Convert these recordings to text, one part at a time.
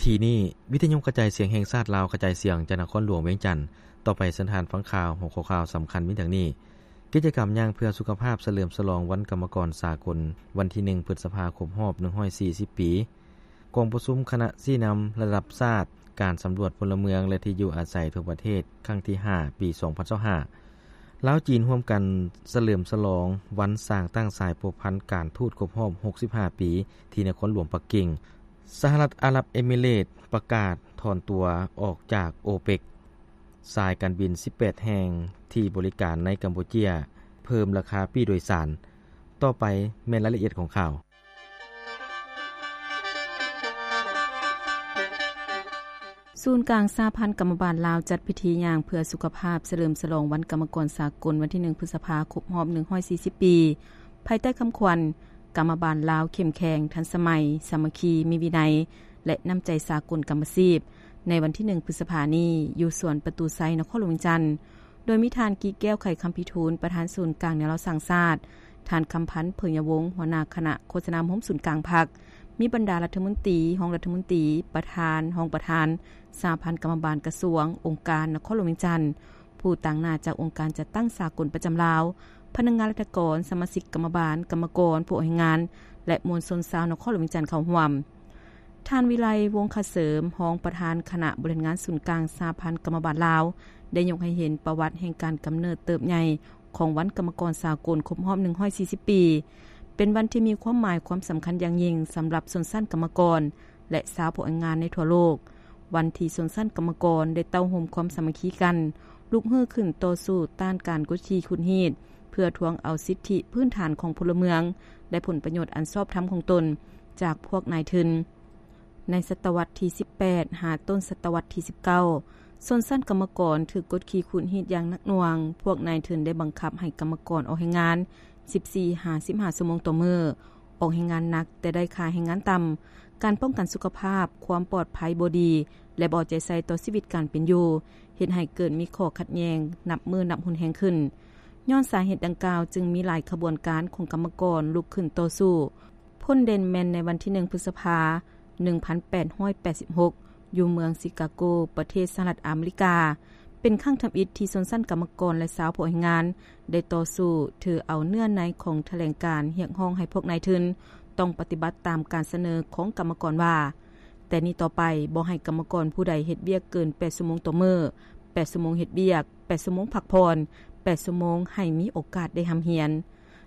ທີ່ນີ້ ວິທະຍຸກະຈາຍສຽງແຫ່ງຊາດລາວ ກະຈາຍສຽງຈາກນະຄອນຫຼວງວຽງຈັນ. ຕໍ່ໄປເຊີນທ່ານຟັງຂ່າວ. ຫົວຂໍ້ຂ່າວສຳຄັນມີດັ່ງນີ້: ກິດຈະກຳຍ່າງເພື່ອສຸຂະພາບສະເຫຼີມສະຫຼອງວັນກຳມະກອນສາກົນ ວັນທີໜຶ່ງ ພຶດສະພາ ຄົບຮອບໜຶ່ງຮ້ອຍສີ່ສິບປີ. ກອງປະຊຸມຄະນະຊີ້ນຳລະດັບຊາດ ການສຳຫຼວດພົນລະເມືອງ ແລະ ທີ່ຢູ່ອາໄສທົ່ວປະເທດ ຄັ້ງທີຫ້າ ປີສອງພັນຊາວຫ້າ. ລາວ-ຈີນຮ່ວມກັນສະເຫຼີມສະຫຼອງວັນສ້າງຕັ້ງສາຍພົວພັນການທູດຄົບຮອບຫົກສິບຫ້າປີ ທີ່ນະຄອນຫຼວງປັກກິ່ງ. ສະຫະລັດອາຣັບເອມິເຣດປະກາດຖອນຕົວອອກຈາກໂອເປັກ. ສາຍການບິນສິບແປດແຫ່ງທີ່ບໍລິການໃນກຳປູເຈຍ ເພີ່ມລາຄາປີ້ໂດຍສານ. ຕໍ່ໄປແມ່ນລາຍລະອຽດຂອງຂ່າວ. ສູນກາງສະຫະພັນກຳມະບານລາວ ຈັດພິທີຍ່າງເພື່ອສຸຂະພາບສະເຫຼີມສະຫຼອງວັນກຳມະກອນສາກົນ ວັນທີໜຶ່ງ ພຶດສະພາ ຄົບຮອບໜຶ່ງຮ້ອຍສີ່ສິບປີ ພາຍໃຕ້ຄຳຂວັນ ກຳມະບານລາວເຂັ້ມແຂງ, ທັນສະໄໝ, ສາມັກຄີ, ມີວິໄນ ແລະ ນ້ຳໃຈສາກົນກຳມະຊີບ ໃນວັນທີໜຶ່ງ ພຶດສະພານີ້ ຢູ່ສວນປະຕູໄຊ ນະຄອນຫຼວງວຽງຈັນ. ໂດຍມີທ່ານ ກີແກ້ວ ໄຂຄຳພິທູນ ປະທານສູນກາງແນວລາວສ້າງຊາດ, ທ່ານ ຄຳພັນ ເຜີຍຍະວົງ ຫົວໜ້າຄະນະໂຄສະນາໂຮມສູນກາງພັກ, ມີບັນດາລັດຖະມົນຕີ, ຮອງລັດຖະມົນຕີ, ປະທານ, ຮອງປະທານ ສະຫະພັນກຳມະບານກະຊວງ, ອົງການນະຄອນຫຼວງວຽງຈັນ, ຜູ້ຕາງໜ້າຈາກອົງການຈັດຕັ້ງສາກົນປະຈຳລາວ, ພະນັກງານລັດຖະກອນ, ສະມາຊິກກຳມະບານ, ກຳມະກອນ, ຜູ້ອອກແຮງງານ ແລະ ມວນຊົນຊາວນະຄອນຫຼວງວຽງຈັນເຂົ້າຮ່ວມ. ທ່ານ ວິໄລ ວົງຄະເສີມ ຮອງປະທານຄະນະບໍລິຫານງານສູນກາງສະຫະພັນກຳມະບານລາວ ໄດ້ຍົກໃຫ້ເຫັນປະຫວັດແຫ່ງການກຳເນີດເຕີບໃຫຍ່ຂອງວັນກຳມະກອນສາກົນຄົບຮອບໜຶ່ງຮ້ອຍສີ່ສິບປີ ເປັນວັນທີ່ມີຄວາມໝາຍຄວາມສຳຄັນຢ່າງຍິ່ງສຳລັບຊົນຊັ້ນກຳມະກອນ ແລະ ຊາວຜູ້ອອກແຮງງານໃນທົ່ວໂລກ, ວັນທີ່ຊົນຊັ້ນກຳມະກອນໄດ້ເຕົ້າໂຮມຄວາມສາມັກຄີກັນ, ລຸກຮືກຂຶ້ນຕໍ່ສູ້ຕ້ານການກົດຂີ່ຂູດຮີດ ເພື່ອທວງເອົາສິດທິພື້ນຖານຂອງພົນລະເມືອງ ແລະ ຜົນປະໂຫຍດອັນຊອບທຳຂອງຕົນຈາກພວກນາຍທຶນ. ໃນສະຕະວັດທີສິບແປດ ຫາຕົ້ນສະຕະວັດທີສິບເກົ້າ ຊົນຊັ້ນກຳມະກອນຖືກກົດຂີ່ຂູດຮີດຢ່າງໜັກໜ່ວງ, ພວກນາຍທຶນໄດ້ບັງຄັບໃຫ້ກຳມະກອນອອກແຮງງານ ສິບສີ່ຫາສິບຫ້າຊົ່ວໂມງຕໍ່ມື້, ອອກແຮງງານໜັກແຕ່ໄດ້ຄ່າແຮງງານຕ່ຳ, ການປ້ອງກັນສຸຂະພາບ, ຄວາມປອດໄພບໍ່ດີ ແລະ ບໍ່ເອົາໃຈໃສ່ຕໍ່ຊີວິດການເປັນຢູ່ ເຮັດໃຫ້ເກີດມີຂໍ້ຂັດແຍ່ງນັບມື້ນັບຮຸນແຮງຂຶ້ນ. ຍ້ອນສາເຫດດັ່ງກ່າວຈຶ່ງມີຫຼາຍຂະບວນການຂອງກຳມະກອນລຸກຂຶ້ນຕໍ່ສູ້. ພົ້ນເດັ່ນແມ່ນໃນວັນທີໜຶ່ງ ພຶດສະພາ ໜຶ່ງພັນແປດຮ້ອຍແປດສິບຫົກ ຢູ່ເມືອງຊິກາໂກ ປະເທດສະຫະລັດອາເມລິກາ ເປັນຄັ້ງທຳອິດທີ່ຊົນຊັ້ນກຳມະກອນ ແລະ ຊາວຜູ້ອອກແຮງງານໄດ້ຕໍ່ສູ້ຖືເອົາເນື້ອໃນຂອງຖະແຫຼງການຮຽກຮ້ອງໃຫ້ພວກນາຍທຶນຕ້ອງປະຕິບັດຕາມການສະເໜີຂອງກຳມະກອນວ່າ ແຕ່ນີ້ຕໍ່ໄປບໍ່ໃຫ້ກຳມະກອນຜູ້ໃດເຮັດວຽກເກີນແປດຊົ່ວໂມງຕໍ່ມື້, ແປດຊົ່ວໂມງເຮັດວຽກ, ແປດຊົ່ວໂມງພັກຜ່ອນ, ແປດຊົ່ວໂມງໃຫ້ມີໂອກາດໄດ້ຮ່ຳຮຽນ.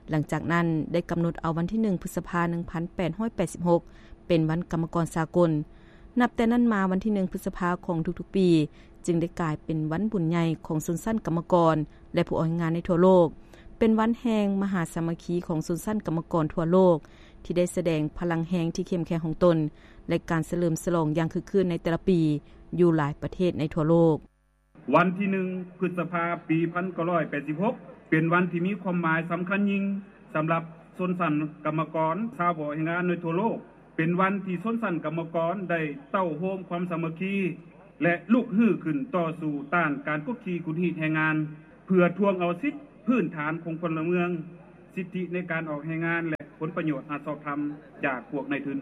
ຫຼັງຈາກນັ້ນໄດ້ກຳນົດເອົາວັນທີໜຶ່ງ ພຶດສະພາ ໜຶ່ງພັນແປດຮ້ອຍແປດສິບຫົກ ເປັນວັນກຳມະກອນສາກົນ. ນັບແຕ່ນັ້ນມາ ວັນທີໜຶ່ງ ພຶດສະພາຂອງທຸກໆປີ ຈຶ່ງໄດ້ກາຍເປັນວັນບຸນໃຫຍ່ຂອງຊົນຊັ້ນກຳມະກອນ ແລະ ຜູ້ອອກແຮງງານໃນທົ່ວໂລກ, ເປັນວັນແຫ່ງມະຫາສາມັກຄີຂອງຊົນຊັ້ນກຳມະກອນທົ່ວໂລກ ທີ່ໄດ້ສະແດງພະລັງແຮງທີ່ເຂັ້ມແຂງຂອງຕົນ ແລະ ການສະເຫຼີມສະຫຼອງຢ່າງຄຶກຄື້ນໃນແຕ່ລະປີຢູ່ຫຼາຍປະເທດໃນທົ່ວໂລກ. ວັນທີໜຶ່ງ ພຶດສະພາ ປີໜຶ່ງພັນເກົ້າຮ້ອຍແປດສິບຫົກ ເປັນວັນທີ່ມີຄວາມໝາຍສຳຄັນຍິ່ງສຳລັບຊົນຊັ້ນກຳມະກອນຊາວຜູ້ອອກແຮງງານໃນທົ່ວໂລກ, ເປັນວັນທີ່ຊົນຊັ້ນກຳມະກອນໄດ້ເຕົ້າໂຮມຄວາມສາມັກຄີ ແລະ ລຸກຮືຂຶ້ນຕໍ່ສູ້ຕ້ານການກົດຂີ່ຂູດຮີດແຮງງານ ເພື່ອທວງເອົາສິດພື້ນຖານຂອງພົນລະເມືອງ, ສິດທິໃນການອອກແຮງງານ ແລະ ຜົນປະໂຫຍດອັນຊອບທຳຈາກພວກນາຍທຶນ.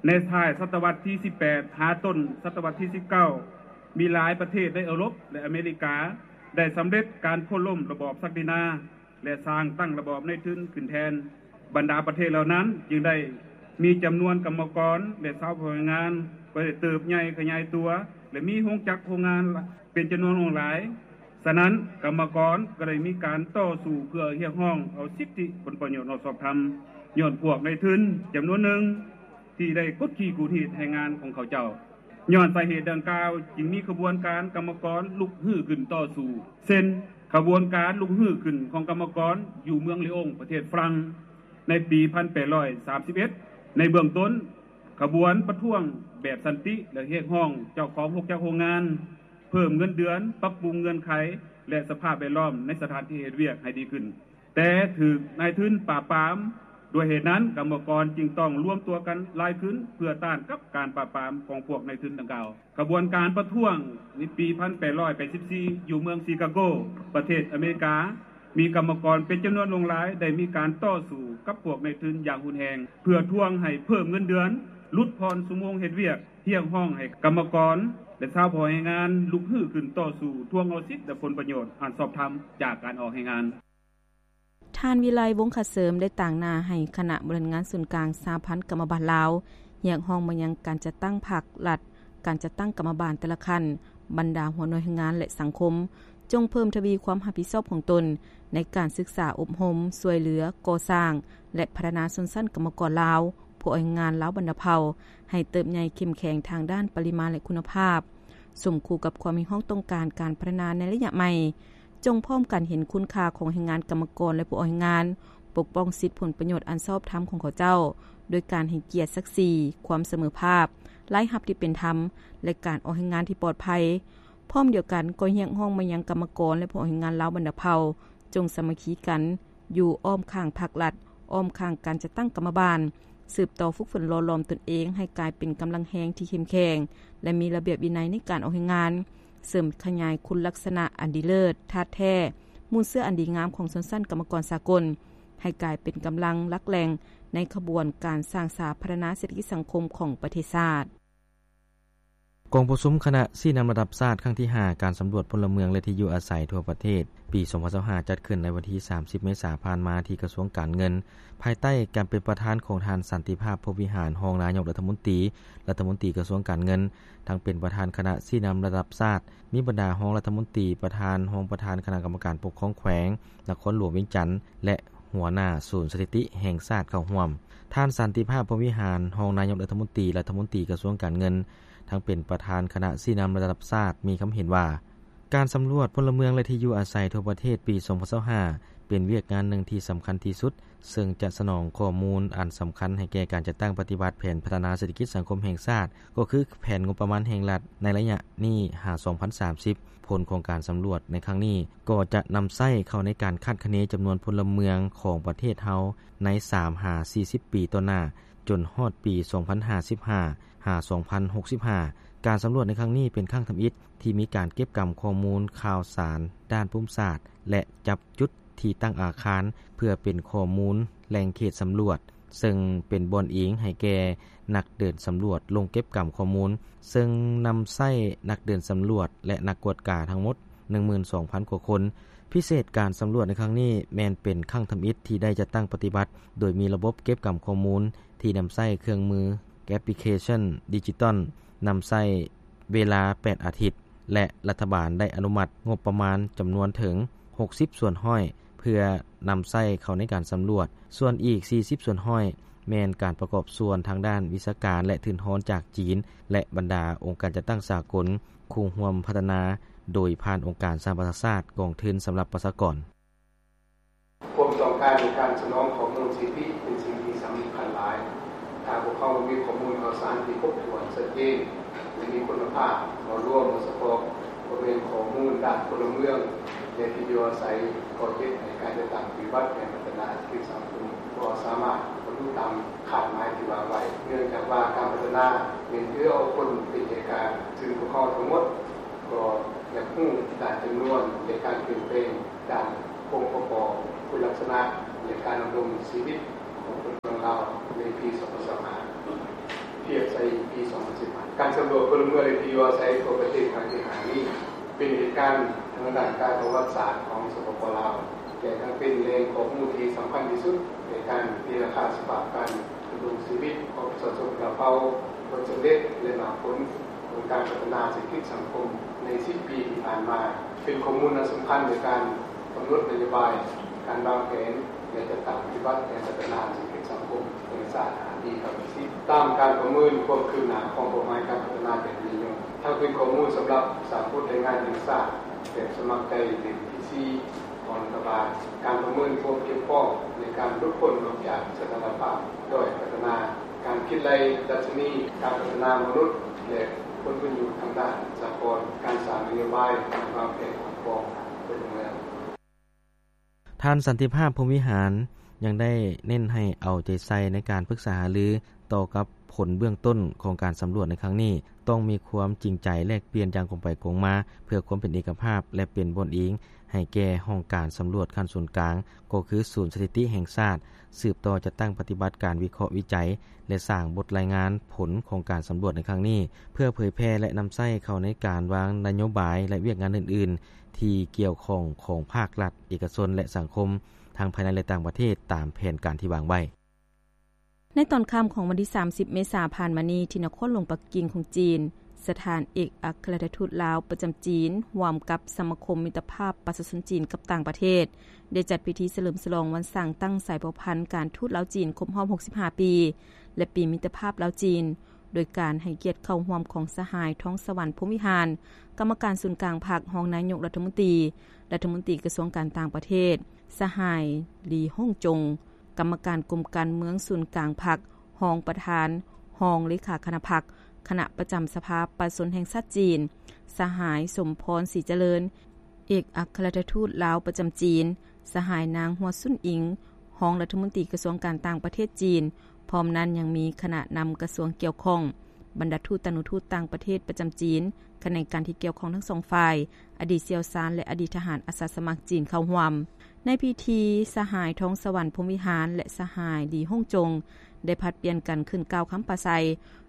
ໃນທ້າຍສະຕະວັດທີສິບແປດ ຫາຕົ້ນສະຕະວັດທີສິບເກົ້າ ມີຫຼາຍປະເທດໃນເອີຣົບ ແລະ ອາເມລິກາ ໄດ້ສຳເລັດການໂຄ່ນລົ້ມລະບອບສັກດິນາ ແລະ ສ້າງຕັ້ງລະບອບນາຍທຶນຂຶ້ນແທນ. ບັນດາປະເທດເຫຼົ່ານັ້ນຈຶ່ງໄດ້ມີຈຳນວນກຳມະກອນ ແລະ ຊາວຜູ້ອອກແຮງງານກໍໄດ້ເຕີບໃຫຍ່ຂະຫຍາຍຕົວ ແລະ ມີໂຮງຈັກໂຮງງານເປັນຈຳນວນຫຼວງຫຼາຍ. ສະນັ້ນ ກຳມະກອນກໍໄດ້ມີການຕໍ່ສູ້ເພື່ອຮຽກຮ້ອງເອົາສິດທິຜົນປະໂຫຍດອັນຊອບທຳ ຍ້ອນພວກນາຍທຶນຈຳນວນໜຶ່ງ ທີ່ໄດ້ກົດຂີ່ຂູດຮີດແຮງງານຂອງເຂົາເຈົ້າ. ຍ້ອນສາເຫດດັ່ງກ່າວ ຈຶ່ງມີຂະບວນການກຳມະກອນລຸກຮືຂຶ້ນຕໍ່ສູ້ ເຊັ່ນ ຂະບວນການລຸກຮືຂຶ້ນຂອງກຳມະກອນຢູ່ເມືອງລີອົງ ປະເທດຝຣັ່ງ ໃນປີໜຶ່ງພັນແປດຮ້ອຍສາມສິບເອັດ. ໃນເບື້ອງຕົ້ນ ຂະບວນປະທ້ວງແບບສັນຕິ ແລະ ຮຽກຮ້ອງເຈົ້າຂອງໂຮງຈັກໂຮງງານ ເພີ່ມເງິນເດືອນ, ປັບປຸງເງື່ອນໄຂ ແລະ ສະພາບແວດລ້ອມໃນສະຖານທີ່ເຮັດວຽກໃຫ້ດີຂຶ້ນ. ແຕ່ຖືກນາຍທຶນປາບປາມ. ດ້ວຍເຫດນັ້ນ ກຳມະກອນຈຶ່ງຕ້ອງລວມຕົວກັນຫຼາຍຂຶ້ນ ເພື່ອຕ້ານກັບການປາບປາມຂອງພວກນາຍທຶນດັ່ງກ່າວ. ຂະບວນການປະທ້ວງໃນປີໜຶ່ງພັນແປດຮ້ອຍແປດສິບສີ່ ຢູ່ເມືອງຊິກາໂກ ປະເທດອາເມລິກາ ມີກຳມະກອນເປັນຈຳນວນຫຼວງຫຼາຍໄດ້ມີການຕໍ່ສູ້ກັບພວກນາຍທຶນຢ່າງຮຸນແຮງ ເພື່ອທວງໃຫ້ເພີ່ມເງິນເດືອນ ຫຼຸດຜ່ອນຊົ່ວໂມງເຮັດວຽກ, ຮຽກຮ້ອງໃຫ້ກຳມະກອນ ແລະ ຊາວຜູ້ອອກແຮງງານລຸກຮືຂຶ້ນຕໍ່ສູ້ທວງເອົາສິດ ແລະ ຜົນປະໂຫຍດອັນຊອບທຳຈາກການອອກແຮງງານ. ທ່ານ ວິໄລ ວົງຄະເສີມ ໄດ້ຕາງໜ້າໃຫ້ຄະນະບໍລິຫານງານສູນກາງສະຫະພັນກຳມະບານລາວ ຮຽກຮ້ອງມາຍັງການຈັດຕັ້ງພັກລັດ, ການຈັດຕັ້ງກຳມະບານແຕ່ລະຂັ້ນ, ບັນດາຫົວໜ່ວຍແຮງງານ ແລະ ສັງຄົມ ຈົ່ງເພີ່ມທະວີຄວາມຮັບຜິດຊອບຂອງຕົນໃນການສຶກສາອົບຮົມ, ຊ່ວຍເຫຼືອ, ກໍ່ສ້າງ ແລະ ພັດທະນາຊົນຊັ້ນກຳມະກອນລາວ, ຜູ້ອອກແຮງງານລາວບັນດາເຜົ່າ ໃຫ້ເຕີບໃຫຍ່ເຂັ້ມແຂງທາງດ້ານປະລິມານ ແລະ ຄຸນນະພາບ, ສົມຄູ່ກັບຄວາມຮຽກຮ້ອງຕ້ອງການການພັດທະນາໃນໄລຍະໃໝ່. ຈົ່ງພ້ອມກັນເຫັນຄຸນຄ່າຂອງແຮງງານກຳມະກອນ ແລະ ຜູ້ອອກແຮງງານ, ປົກປ້ອງສິດຜົນປະໂຫຍດອັນຊອບທຳຂອງເຂົາເຈົ້າ ໂດຍການໃຫ້ກຽດສັກສີ, ຄວາມສະເໝີພາບ, ລາຍຮັບທີ່ເປັນທຳ ແລະ ການອອກແຮງງານທີ່ປອດໄພ. ພ້ອມດຽວກັນກໍຮຽກຮ້ອງມາຍັງກຳມະກອນ ແລະ ຜູ້ອອກແຮງງານລາວບັນດາເຜົ່າ ຈົ່ງສາມັກຄີກັນຢູ່ອ້ອມຂ້າງພັກລັດ, ອ້ອມຂ້າງການຈັດຕັ້ງກຳມະບານ, ສືບຕໍ່ຝຶກຝົນຫຼໍ່ຫຼອມຕົນເອງໃຫ້ກາຍເປັນກຳລັງແຮງທີ່ເຂັ້ມແຂງ ແລະ ມີລະບຽບວິໄນໃນການອອກແຮງງານ, ເສີມຂະຫຍາຍຄຸນລັກສະນະອັນດີເລີດ, ທາດແທ້, ມູນເຊື້ອອັນດີງາມຂອງຊົນຊັ້ນກຳມະກອນສາກົນ ໃຫ້ກາຍເປັນກຳລັງຫຼັກແຫຼ່ງໃນຂະບວນການສ້າງສາພັດທະນາເສດຖະກິດສັງຄົມຂອງປະເທດຊາດ. ກອງປະຊຸມຄະນະຊີ້ນຳລະດັບຊາດຄັ້ງທີຫ້າ ການສຳຫຼວດພົນລະເມືອງ ແລະ ທີ່ຢູ່ອາໄສທົ່ວປະເທດ ປີສອງພັນຊາວຫ້າ ຈັດຂຶ້ນໃນວັນທີສາມສິບ ເມສາຜ່ານມາ ທີ່ກະຊວງການເງິນ ພາຍໃຕ້ການເປັນປະທານຂອງທ່ານ ສັນຕິພາບ ພົມວິຫານ ຮອງນາຍົກລັດຖະມົນຕີ, ລັດຖະມົນຕີກະຊວງການເງິນ, ທັງເປັນປະທານຄະນະຊີ້ນຳລະດັບຊາດ, ມີບັນດາຮອງລັດຖະມົນຕີ, ປະທານ, ຮອງປະທານຄະນະກຳມະການປົກຄອງແຂວງນະຄອນຫຼວງວຽງຈັນ ແລະ ຫົວໜ້າສູນສະຖິຕິແຫ່ງຊາດເຂົ້າຮ່ວມ. ທ່ານ ສັນຕິພາບ ພົມວິຫານ ຮອງນາຍົກລັດຖະມົນຕີ, ລັດຖະມົນຕີກະຊວງການເງິນ, ທັງເປັນປະທານຄະນະຊີ້ນຳລະດັບຊາດ ມີຄຳເຫັນວ່າ ການສຳຫຼວດພົນລະເມືອງ ແລະ ທີ່ຢູ່ອາໄສທົ່ວປະເທດປີສອງພັນຊາວຫ້າ ເປັນວຽກງານໜຶ່ງທີ່ສຳຄັນທີ່ສຸດ ເຊິ່ງຈະສະໜອງຂໍ້ມູນອັນສຳຄັນໃຫ້ແກ່ການຈັດຕັ້ງປະຕິບັດແຜນພັດທະນາເສດຖະກິດສັງຄົມແຫ່ງຊາດ, ກໍຄືແຜນງົບປະມານແຫ່ງລັດໃນໄລຍະນີ້ຫາສອງພັນສາມສິບ. ຜົນຂອງການສຳຫຼວດໃນຄັ້ງນີ້ ກໍຈະນຳໃຊ້ເຂົ້າໃນການຄາດຄະເນຈຳນວນພົນລະເມືອງຂອງປະເທດເຮົາໃນສາມຫາສີ່ສິບປີຕໍ່ໜ້າ, ຈົນຮອດປີສອງພັນຫ້າສິບຫ້າ ຫາສອງພັນຫົກສິບຫ້າ. ການສຳຫຼວດໃນຄັ້ງນີ້ເປັນຄັ້ງທຳອິດທີ່ມີການເກັບກຳຂໍ້ມູນຂ່າວສານດ້ານພູມສາດ ແລະ ຈັບຈຸດທີ່ຕັ້ງອາຄານ ເພື່ອເປັນຂໍ້ມູນແຫຼ່ງເຂດສຳຫຼວດ, ເຊິ່ງເປັນບ່ອນອີງໃຫ້ແກ່ນັກເດີນສຳຫຼວດລົງເກັບກຳຂໍ້ມູນ, ເຊິ່ງນຳໃຊ້ນັກເດີນສຳຫຼວດ ແລະ ນັກກວດກາທັງໝົດໜຶ່ງໝື່ນສອງພັນກວ່າຄົນ. ພິເສດການສຳຫຼວດໃນຄັ້ງນີ້ແມ່ນເປັນຄັ້ງທຳອິດທີ່ໄດ້ຈັດຕັ້ງປະຕິບັດ ໂດຍມີລະບົບເກັບກຳຂໍ້ມູນທີ່ນຳໃຊ້ເຄື່ອງມືແອັບພລິເຄຊັນດິຈິຕອນ, ນຳໃຊ້ເວລາແປດອາທິດ ແລະ ລັດຖະບານໄດ້ອະນຸມັດງົບປະມານຈຳນວນເຖິງຫົກສິບສ່ວນຮ້ອຍ ເພື່ອນຳໃຊ້ເຂົ້າໃນການສຳຫຼວດ, ສ່ວນອີກສີ່ສິບສ່ວນຮ້ອຍ ແມ່ນການປະກອບສ່ວນທາງດ້ານວິຊາການ ແລະ ທຶນຮອນຈາກຈີນ ແລະ ບັນດາອົງການຈັດຕັ້ງສາກົນ ຄູ່ຮ່ວມພັດທະນາ ໂດຍຜ່ານອົງການສະຫະປະຊາຊາດ, ກອງທຶນສຳລັບປະຊາກອນ. ຄວາມຕ້ອງການໃນການສະໜອງຂໍ້ມູນສະຖິຕິເປັນສິ່ງທີ່ສຳຄັນຫຼາຍ. ຖ້າພວກເຮົາບໍ່ມີຂໍ້ມູນຂ່າວສານທີ່ຄົບຖ້ວນ, ຊັດເຈນ ແລະ ມີຄຸນນະພາບ, ເວົ້າລວມ, ເວົ້າສະເພາະ, ບໍ່ແມ່ນຂໍ້ມູນດ້ານພົນລະເມືອງ ແລະ ທີ່ຢູ່ອາໄສ, ກໍເຮັດໃຫ້ການຈັດຕັ້ງປະຕິບັດແຜນພັດທະນາເສດຖະກິດສັງຄົມບໍ່ສາມາດບັນລຸຕາມຄາດໝາຍທີ່ວາງໄວ້. ເນື່ອງຈາກວ່າການພັດທະນາແມ່ນຖືເອົາຄົນເປັນໃຈກາງ, ຊຶ່ງພວກເຮົາທັງໝົດກໍຢາກຮູ້ດ້ານຈຳນວນ ແລະ ການປ່ຽນແປງ ດ້ານອົງປະກອບຄຸນລັກສະນະ ແລະ ການດຳລົງຊີວິດຂອງຄົນເມືອງລາວໃນປີສອງພັນຊາວຫ້າ ທຽບໃສ່ປີສອງພັນສິບຫ້າ. ການສຳຫຼວດພົນລະເມືອງ ແລະ ທີ່ຢູ່ອາໄສທົ່ວປະເທດຄັ້ງທີຫ້ານີ້ ເປັນເຫດການທາງດ້ານການປະຫວັດສາດຂອງ ສປປ ລາວ ແລະ ທັງເປັນແຫຼ່ງຂໍ້ມູນທີ່ສຳຄັນທີ່ສຸດໃນການຕີລາຄາສະພາບການດຳລົງຊີວິດຂອງປະຊາຊົນລາວເຜົ່າ, ຜົນສຳເລັດ ແລະ ໝາກຜົນ ຂອງການພັດທະນາເສດຖະກິດສັງຄົມໃນສິບປີທີ່ຜ່ານມາ, ເປັນຂໍ້ມູນອັນສຳຄັນໃນການກຳນົດນະໂຍບາຍ, ການວາງແຜນ ແລະ ຈັດຕັ້ງປະຕິບັດແຜນພັດທະນາເສດຖະກິດສັງຄົມແຫ່ງຊາດຫ້າປີເຂົ້າໄປສິບ ຕາມການປະເມີນຄວາມຄືບໜ້າຂອງເປົ້າໝາຍການພັດທະນາແບບຍືນຍົງ. ທັງເປັນຂໍ້ມູນສຳລັບສ້າງບົດລາຍງານແຫ່ງຊາດແບບສະໝັກໃຈເຫຼັ້ມທີສີ່ ຂອງລັດຖະບານ, ການປະເມີນຄວາມພຽງພ້ອມໃນການຫຼຸດພົ້ນອອກຈາກສະຖານະພາບດ້ອຍພັດທະນາ, ການຄິດໄລ່ດັດຊະນີການພັດທະນາມະນຸດ ແລະ ຜົນປະໂຫຍດທາງດ້ານສາກົນ, ການສ້າງນະໂຍບາຍ, ການວາງແຜນຂອງກອງພັນເມືອງ. ທ່ານ ສັນຕິພາບ ພົມວິຫານ, ຍັງໄດ້ເນັ້ນໃຫ້ເອົາໃຈໃສ່ໃນການປຶກສາຫາລືຕໍ່ກັບຜົນເບື້ອງຕົ້ນຂອງການສຳຫຼວດໃນຄັ້ງນີ້, ຕ້ອງມີຄວາມຈິງໃຈແລກປ່ຽນຢ່າງກົງໄປກົງມາ ເພື່ອຄວາມເປັນເອກະພາບ ແລະ ເປັນບ່ອນອີງໃຫ້ແກ່ຫ້ອງການສຳຫຼວດຂັ້ນສູນກາງ ກໍຄືສູນສະຖິຕິແຫ່ງຊາດ, ສືບຕໍ່ຈັດຕັ້ງປະຕິບັດການວິເຄາະວິໄຈ ແລະ ສ້າງບົດລາຍງານຜົນຂອງການສຳຫຼວດໃນຄັ້ງນີ້ ເພື່ອເຜີຍແຜ່ ແລະ ນຳໃຊ້ເຂົ້າໃນການວາງນະໂຍບາຍ ແລະ ວຽກງານອື່ນໆ ທີ່ກ່ຽວຂ້ອງຂອງພາກລັດ, ເອກະຊົນ ແລະ ສັງຄົມ ທັງພາຍໃນ ແລະ ຕ່າງປະເທດ ຕາມແຜນການທີ່ວາງໄວ້. ໃນຕອນຄ່ຳຂອງວັນທີສາມສິບ ເມສາຜ່ານມານີ້ ທີ່ນະຄອນຫຼວງປັກກິ່ງຂອງຈີນ, ສະຖານເອກອັກຄະລັດຖະທູດລາວປະຈຳຈີນ ຮ່ວມກັບສະມາຄົມມິດຕະພາບປະຊາຊົນຈີນກັບຕ່າງປະເທດ ໄດ້ຈັດພິທີສະເຫຼີມສະຫຼອງວັນສ້າງຕັ້ງສາຍພົວພັນການທູດລາວຈີນຄົບຮອບຫົກສິບຫ້າປີ ແລະ ປີມິດຕະພາບລາວຈີນ ໂດຍການໃຫ້ກຽດເຂົ້າຮ່ວມຂອງສະຫາຍ ທອງສະຫວັນ ພົມວິຫານ ກຳມະການສູນກາງພັກ, ຮອງນາຍົກລັດຖະມົນຕີ, ລັດຖະມົນຕີກະຊວງການຕ່າງປະເທດ, ສະຫາຍ ລີ ຮົງຈົງ ກຳມະການກົມການເມືອງສູນກາງພັກ, ຮອງປະທານ, ຮອງເລຂາຄະນະພັກ, ຄະນະປະຈຳສະພາປະຊາຊົນແຫ່ງຊາດຈີນ, ສະຫາຍ ສົມພອນ ສີຈະເລີນ ເອກອັກຄະລັດຖະທູດລາວປະຈຳຈີນ, ສະຫາຍ ນາງ ຫົວຊຸນອິງ ຮອງລັດຖະມົນຕີກະຊວງການຕ່າງປະເທດຈີນ, ພ້ອມນັ້ນຍັງມີຄະນະນຳກະຊວງກ່ຽວຂ້ອງ, ບັນດາທູດຕານຸທູດຕ່າງປະເທດປະຈຳຈີນ, ຂະແໜງການທີ່ກ່ຽວຂ້ອງທັງສອງຝ່າຍ, ອະດີດຊ່ຽວຊານ ແລະ ອະດີດທະຫານອາສາສະໝັກຈີນເຂົ້າຮ່ວມ. ໃນພິທີ, ສະຫາຍ ທອງສະຫວັນ ພົມວິຫານ ແລະ ສະຫາຍ ລີ ຮົງຈົງ ໄດ້ຜັດປ່ຽນກັນຂຶ້ນກ່າວຄຳປາໄສ,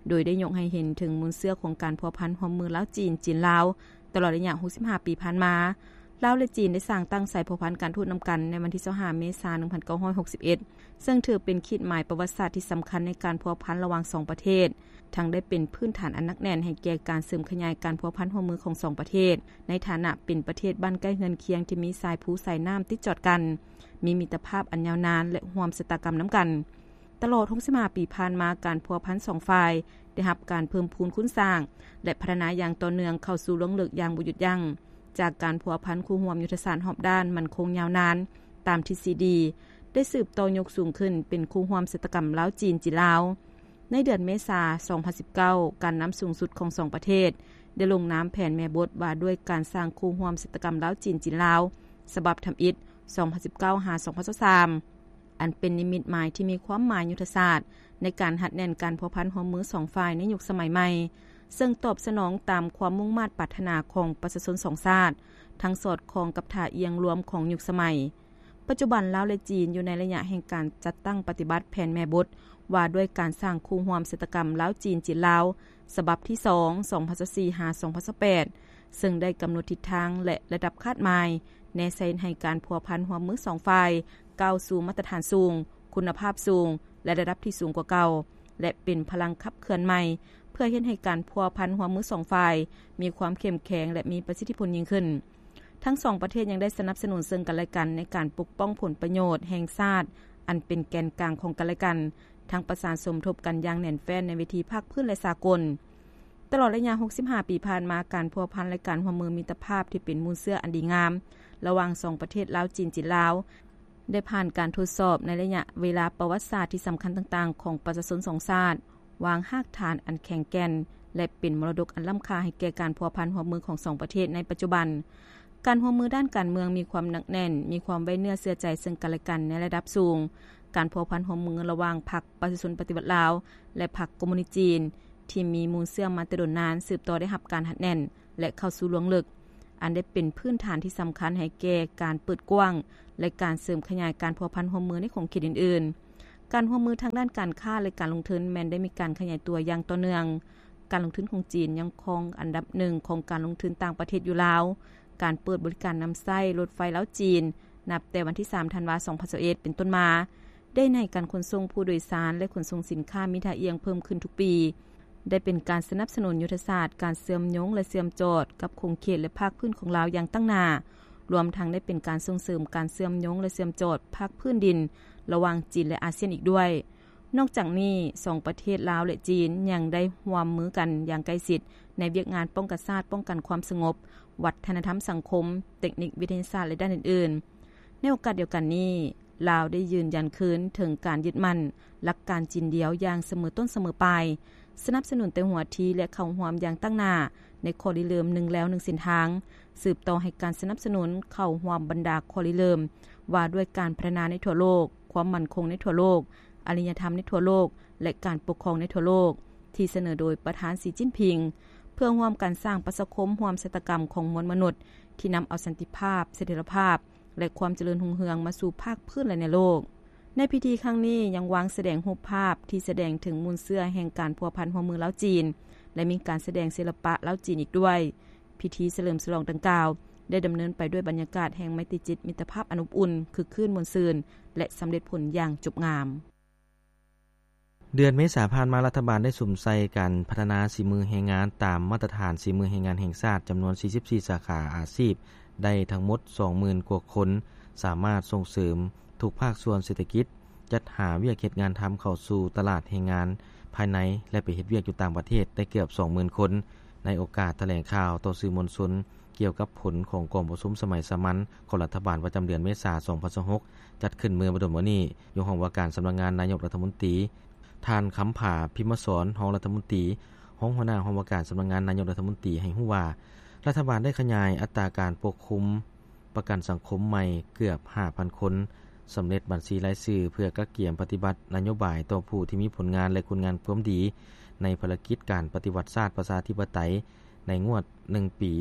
ໂດຍໄດ້ຍົກໃຫ້ເຫັນເຖິງມູນເຊື້ອຂອງການພົວພັນຮ່ວມມືລາວ-ຈີນ, ຈີນ-ລາວ ຕະຫຼອດໄລຍະຫົກສິບຫ້າປີຜ່ານມາ. ລາວ ແລະ ຈີນ ໄດ້ສ້າງຕັ້ງສາຍພົວພັນການທູດນຳກັນໃນວັນທີຊາວຫ້າ ເມສາ ໜຶ່ງພັນເກົ້າຮ້ອຍຫົກສິບເອັດ ເຊິ່ງຖືເປັນຂີດໝາຍປະຫວັດສາດທີ່ສຳຄັນໃນການພົວພັນລະຫວ່າງສອງປະເທດ, ທັງໄດ້ເປັນພື້ນຖານອັນໜັກແໜ້ນໃຫ້ແກ່ການເສີມຂະຫຍາຍການພົວພັນຮ່ວມມືຂອງສອງປະເທດ ໃນຖານະເປັນປະເທດບ້ານໃກ້ເຮືອນຄຽງທີ່ມີສາຍພູສາຍນ້ຳຕິດຈອດກັນ, ມີມິດຕະພາບອັນຍາວນ ແລະ ຮ່ວມຊະຕາກຳນຳກັນ. ຕະຫຼອດຫົກສິບຫ້າປີຜ່ານມາ, ການພົວພັນສອງຝ່າຍໄດ້ຮັບການເພີ່ມພູນຄູນສ້າງ ແລະ ພັດທະນາຢ່າງຕໍ່ເນື່ອງເຂົ້າສູ່ລວງເລິກຢ່າງບໍ່ຢຸດຢັ້ງ, ຈາກການພົວພັນຄູ່ຮ່ວມຍຸດທະສາດຮອບດ້ານໝັ້ນຄົງຍາວນານ ຕາມທິດຊີດີ ໄດ້ສືບຕໍ່ຍົກສູງຂຶ້ນເປັນຄູ່ຮ່ວມຊະຕາກຳລາວ-ຈີນ, ຈີນ-ລາວ. ໃນເດືອນເມສາ ສອງພັນສິບເກົ້າ ການນຳສູງສຸດຂອງສອງປະເທດໄດ້ລົງນາມແຜນແມ່ບົດວ່າດ້ວຍການສ້າງຄູ່ຮ່ວມຊະຕາກຳລາວ-ຈີນ, ຈີນ-ລາວ ສະບັບທຳອິດ ສອງພັນສິບເກົ້າ ຫາ ສອງພັນຊາວສາມ ອັນເປັນນິມິດໝາຍທີ່ມີຄວາມໝາຍຍຸດທະສາດໃນການຮັດແໜ້ນການພົວພັນຮ່ວມມືສອງຝ່າຍໃນຍຸກສະໄໝໃໝ່, ເຊິ່ງຕອບສະໜອງຕາມຄວາມມຸ່ງມາດປາດຖະໜາຂອງປະຊາຊົນສອງຊາດ, ທັງສອດຄ່ອງກັບທ່າອ່ຽງລວມຂອງຍຸກສະໄໝ. ປັດຈຸບັນ, ລາວ ແລະ ຈີນ ຢູ່ໃນໄລຍະແຫ່ງການຈັດຕັ້ງປະຕິບັດແຜນແມ່ບົດ ວ່າດ້ວຍການສ້າງຄູ່ຮ່ວມຊະຕາກຳລາວ-ຈີນ, ຈີນ-ລາວ ສະບັບທີສອງ ສອງພັນຊາວສີ່ ຫາ ສອງພັນຊາວແປດ ເຊິ່ງໄດ້ກຳນົດທິດທາງ ແລະ ລະດັບຄາດໝາຍ ແນໃສ່ເຮັດໃຫ້ການພົວພັນຮ່ວມມືສອງຝ່າຍ ກ້າວສູ່ມາດຕະຖານສູງ, ຄຸນນະພາບສູງ ແລະ ລະດັບທີ່ສູງກວ່າເກົ່າ ແລະ ເປັນພະລັງຂັບເຄື່ອນໃໝ່ ເພື່ອເຮັດໃຫ້ການພົວພັນຮ່ວມມືສອງຝ່າຍມີຄວາມເຂັ້ມແຂງ ແລະ ມີປະສິດທິຜົນຍິ່ງຂຶ້ນ. ທັງສອງປະເທດຍັງໄດ້ສະໜັບສະໜູນເຊິ່ງກັນແລະກັນໃນການປົກປ້ອງຜົນປະໂຫຍດແຫ່ງຊາດ ອັນເປັນແກນກາງຂອງກັນແລະກັນ, ທັງປະສານສົມທົບກັນຢ່າງແໜ້ນແຟ້ນໃນເວທີພາກພື້ນ ແລະ ສາກົນ. ຕະຫຼອດໄລຍະຫົກສິບຫ້າປີຜ່ານມາ, ການພົວພັນ ແລະ ການຮ່ວມມືມິດຕະພາບທີ່ເປັນມູນເຊື້ອອັນດີງາມ ລະຫວ່າງສອງປະເທດລາວ-ຈີນ, ຈີນ-ລາວ ໄດ້ຜ່ານການທົດສອບໃນໄລຍະເວລາປະຫວັດສາດທີ່ສຳຄັນຕ່າງໆຂອງປະຊາຊົນສອງຊາດ, ວາງຮາກຖານອັນແຂງແກ່ນ ແລະ ເປັນມໍລະດົກອັນລ້ຳຄ່າໃຫ້ແກ່ການພົວພັນຮ່ວມມືຂອງສອງປະເທດໃນປັດຈຸບັນ. ການຮ່ວມມືດ້ານການເມືອງມີຄວາມໜັກແໜ້ນ, ມີຄວາມໄວ້ເນື້ອເຊື່ອໃຈເຊິ່ງກັນແລະກັນໃນລະດັບສູງ. ການພົວພັນຮ່ວມມືລະຫວ່າງພັກປະຊາຊົນປະຕິວັດລາວ ແລະ ພັກຄອມມູນິດຈີນ ທີ່ມີມູນເຊື້ອມາແຕ່ດົນນານ ສືບຕໍ່ໄດ້ຮັບການຮັດແໜ້ນ ແລະ ເຂົ້າສູ່ລວງເລິກ, ອັນໄດ້ເປັນພື້ນຖານທີ່ສຳຄັນໃຫ້ແກ່ການເປີດກວ້າງ ແລະ ການເສີມຂະຫຍາຍການພົວພັນຮ່ວມມືໃນຂົງເຂດອື່ນໆ. ການຮ່ວມມືທາງດ້ານການຄ້າ ແລະ ການລົງທຶນແມ່ນໄດ້ມີການຂະຫຍາຍຕົວຢ່າງຕໍ່ເນື່ອງ. ການລົງທຶນຂອງຈີນຍັງຄອງອັນດັບໜຶ່ງຂອງການລົງທຶນຕ່າງປະເທດຢູ່ລາວ. ການເປີດບໍລິການນຳໃຊ້ລົດໄຟລາວ-ຈີນ ນັບແຕ່ວັນທີສາມ ທັນວາ ສອງພັນຊາວເອັດ ເປັນຕົ້ນມາ ໄດ້ໃຫ້ການຂົນສົ່ງຜູ້ໂດຍສານ ແລະ ຂົນສົ່ງສິນຄ້າມີທ່າອ່ຽງເພີ່ມຂຶ້ນທຸກປີ. ໄດ້ເປັນການສະໜັບສະໜູນຍຸດທະສາດການເຊື່ອມໂຍງ ແລະ ເຊື່ອມຈອດກັບຂົງເຂດ ແລະ ພາກພື້ນຂອງລາວຢ່າງຕັ້ງໜ້າ, ລວມທັງໄດ້ເປັນການສົ່ງເສີມການເຊື່ອມໂຍງ ແລະ ເຊື່ອມຈອດພາກພື້ນດິນລະຫວ່າງຈີນ ແລະ ອາຊຽນອີກດ້ວຍ. ນອກຈາກນີ້, ສອງປະເທດລາວ ແລະ ຈີນ ຍັງໄດ້ຮ່ວມມືກັນຢ່າງໃກ້ຊິດໃນວຽກງານປ້ອງກັນຊາດ, ປ້ອງກັນຄວາມສະຫງົບ, ວັດທະນະທຳສັງຄົມ, ເຕັກນິກວິທະຍາສາດ ແລະ ດ້ານອື່ນໆ. ໃນໂອກາດດຽວກັນນີ້, ລາວໄດ້ຢືນຢັນຄືນເຖິງການຍຶດໝັ້ນຫຼັກການຈີນດຽວຢ່າງສະເໝີຕົ້ນສະເໝີປາຍ, ສະໜັບສະໜູນແຕ່ຫົວທີ ແລະ ເຂົ້າຮ່ວມຢ່າງຕັ້ງໜ້າໃນຂໍ້ລິເລີ່ມໜຶ່ງແລວໜຶ່ງເສັ້ນທາງ, ສືບຕໍ່ໃຫ້ການສະໜັບສະໜູນເຂົ້າຮ່ວມບັນດາຂໍ້ລິເລີ່ມວ່າດ້ວຍການພັດທະນາໃນທົ່ວໂລກ, ຄວາມໝັ້ນຄົງໃນທົ່ວໂລກ, ອາລິຍະທຳໃນທົ່ວໂລກ ແລະ ການປົກຄອງໃນທົ່ວໂລກ ທີ່ສະເໜີໂດຍປະທານ ສີ ຈິ້ນຜິງ ເພື່ອຮ່ວມກັນສ້າງປະຊາຄົມຮ່ວມຊະຕາກຳຂອງມວນມະນຸດ ທີ່ນຳເອົາສັນຕິພາບ, ສະຖຽນລະພາບ ແລະ ຄວາມຈະເລີນຮຸ່ງເຮືອງມາສູ່ພາກພື້ນ ແລະ ໃນໂລກ. ໃນພິທີຄັ້ງນີ້ຍັງວາງສະແດງຮູບພາບທີ່ສະແດງເຖິງມູນເຊື້ອແຫ່ງການພົວພັນຮ່ວມມືລາວ-ຈີນ ແລະ ມີການສະແດງສິລະປະລາວ-ຈີນອີກດ້ວຍ. ພິທີສະເຫຼີມສະຫຼອງດັ່ງກ່າວ ໄດ້ດຳເນີນໄປດ້ວຍບັນຍາກາດແຫ່ງໄມຕີຈິດ, ມິດຕະພາບອັນອົບອຸ່ນ, ຄຶກຄື້ນມ່ວນຊື່ນ ແລະ ສຳເລັດຜົນຢ່າງຈົບງາມ. ເດືອນເມສາຜ່ານມາ, ລັດຖະບານໄດ້ສຸມໃສ່ການພັດທະນາສີມືແຮງງານຕາມມາດຕະຖານສີມືແຮງງານແຫ່ງຊາດ ຈຳນວນສີ່ສິບສີ່ສາຂາອາຊີບ ໄດ້ທັງໝົດສອງໝື່ນກວ່າຄົນ, ສາມາດສົ່ງເສີມທຸກພາກສ່ວນເສດຖະກິດ, ຈັດຫາວຽກເຮັດງານທຳເຂົ້າສູ່ຕະຫຼາດແຮງງານພາຍໃນ ແລະ ໄປເຮັດວຽກຢູ່ຕ່າງປະເທດໄດ້ເກືອບສອງໝື່ນຄົນ. ໃນໂອກາດຖະແຫຼງຂ່າວຕໍ່ສື່ມວນຊົນ ກ່ຽວກັບຜົນຂອງກອງປະຊຸມສະໄໝສາມັນຂອງລັດຖະບານປະຈຳເດືອນເມສາ ສອງພັນຊາວຫົກ ຈັດຂຶ້ນເມື່ອບໍ່ດົນມານີ້ ຢູ່ຫ້ອງວ່າການສຳນັກງານນາຍົກລັດຖະມົນຕີ, ທ່ານ ຄຳຜາ ພິມມະສອນ ຮອງລັດຖະມົນຕີ, ຮອງຫົວໜ້າຫ້ອງວ່າການສຳນັກງານນາຍົກລັດຖະມົນຕີ ໃຫ້ຮູ້ວ່າ ລັດຖະບານໄດ້ຂະຫຍາຍອັດຕາການປົກຄຸມປະກັນສັງຄົມໃໝ່ເກືອບຫ້າພັນຄົນ, ສຳເລັດບັນຊີລາຍຊື່ເພື່ອກະກຽມປະຕິບັດນະໂຍບາຍຕໍ່ຜູ້ທີ່ມີຜົນງານ ແລະ ຄຸນງາມຄວາມດີໃນພາລະກິດການປະຕິວັດຊາດປະຊາທິປະໄຕໃນງວດໜຶ່ງປີ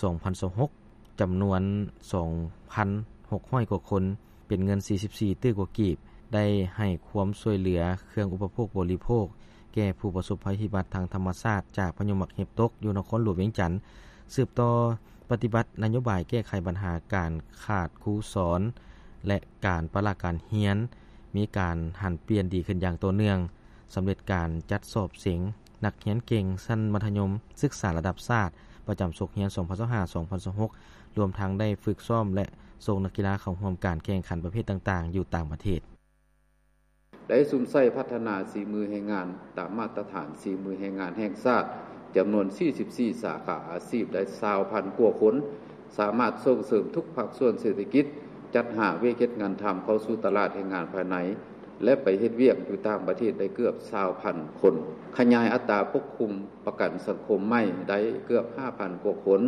ສອງພັນຊາວຫົກ ຈຳນວນສອງພັນຫົກຮ້ອຍກວ່າຄົນ, ເປັນເງິນສີ່ສິບສີ່ຕື້ກວ່າກີບ, ໄດ້ໃຫ້ຄວາມຊ່ວຍເຫຼືອເຄື່ອງອຸປະໂພກບໍລິໂພກແກ່ຜູ້ປະສົບໄພພິບັດທາງທຳມະຊາດຈາກພາຍຸໝາກເຫັບຕົກຢູ່ນະຄອນຫຼວງວຽງຈັນ, ສືບຕໍ່ປະຕິບັດນະໂຍບາຍແກ້ໄຂບັນຫາການຂາດຄູສອນ ແລະ ການປະລະການຮຽນ, ມີການຫັນປ່ຽນດີຂຶ້ນຢ່າງຕໍ່ເນື່ອງ. ສຳເລັດການຈັດສອບເສັງນັກຮຽນເກັ່ງຊັ້ນມັດທະຍົມສຶກສາລະດັບຊາດ ປະຈຳສົກຮຽນ ສອງພັນຊາວຫ້າ ສອງພັນຊາວຫົກ ລວມທັງໄດ້ຝຶກຊ້ອມ ແລະ ສົ່ງນັກກິລາເຂົ້າຮ່ວມການແຂ່ງຂັນປະເພດຕ່າງໆຢູ່ຕ່າງປະເທດ. ໄດ້ສຸມໃສ່ພັດທະນາສີມືແຮງງານຕາມມາດຕະຖານສີມືແຮງງານແຫ່ງຊາດ ຈຳນວນສີ່ສິບສີ່ສາຂາອາຊີບ ໄດ້ຊາວພັນກວ່າຄົນ, ສາມາດສົ່ງເສີມທຸກພາກສ່ວນເສດຖະກິດ, ຈັດຫາວຽກເຮັດງານທຳເຂົ້າສູ່ຕະຫຼາດແຮງງານພາຍໃນ ແລະ ໄປເຮັດວຽກຢູ່ຕ່າງປະເທດໄດ້ເກືອບຊາວພັນຄົນ, ຂະຫຍາຍອັດຕາປົກຄຸມປະກັນສັງຄົມໃໝ່ໄດ້ເກືອບຫ້າພັນກວ່າຄົນ,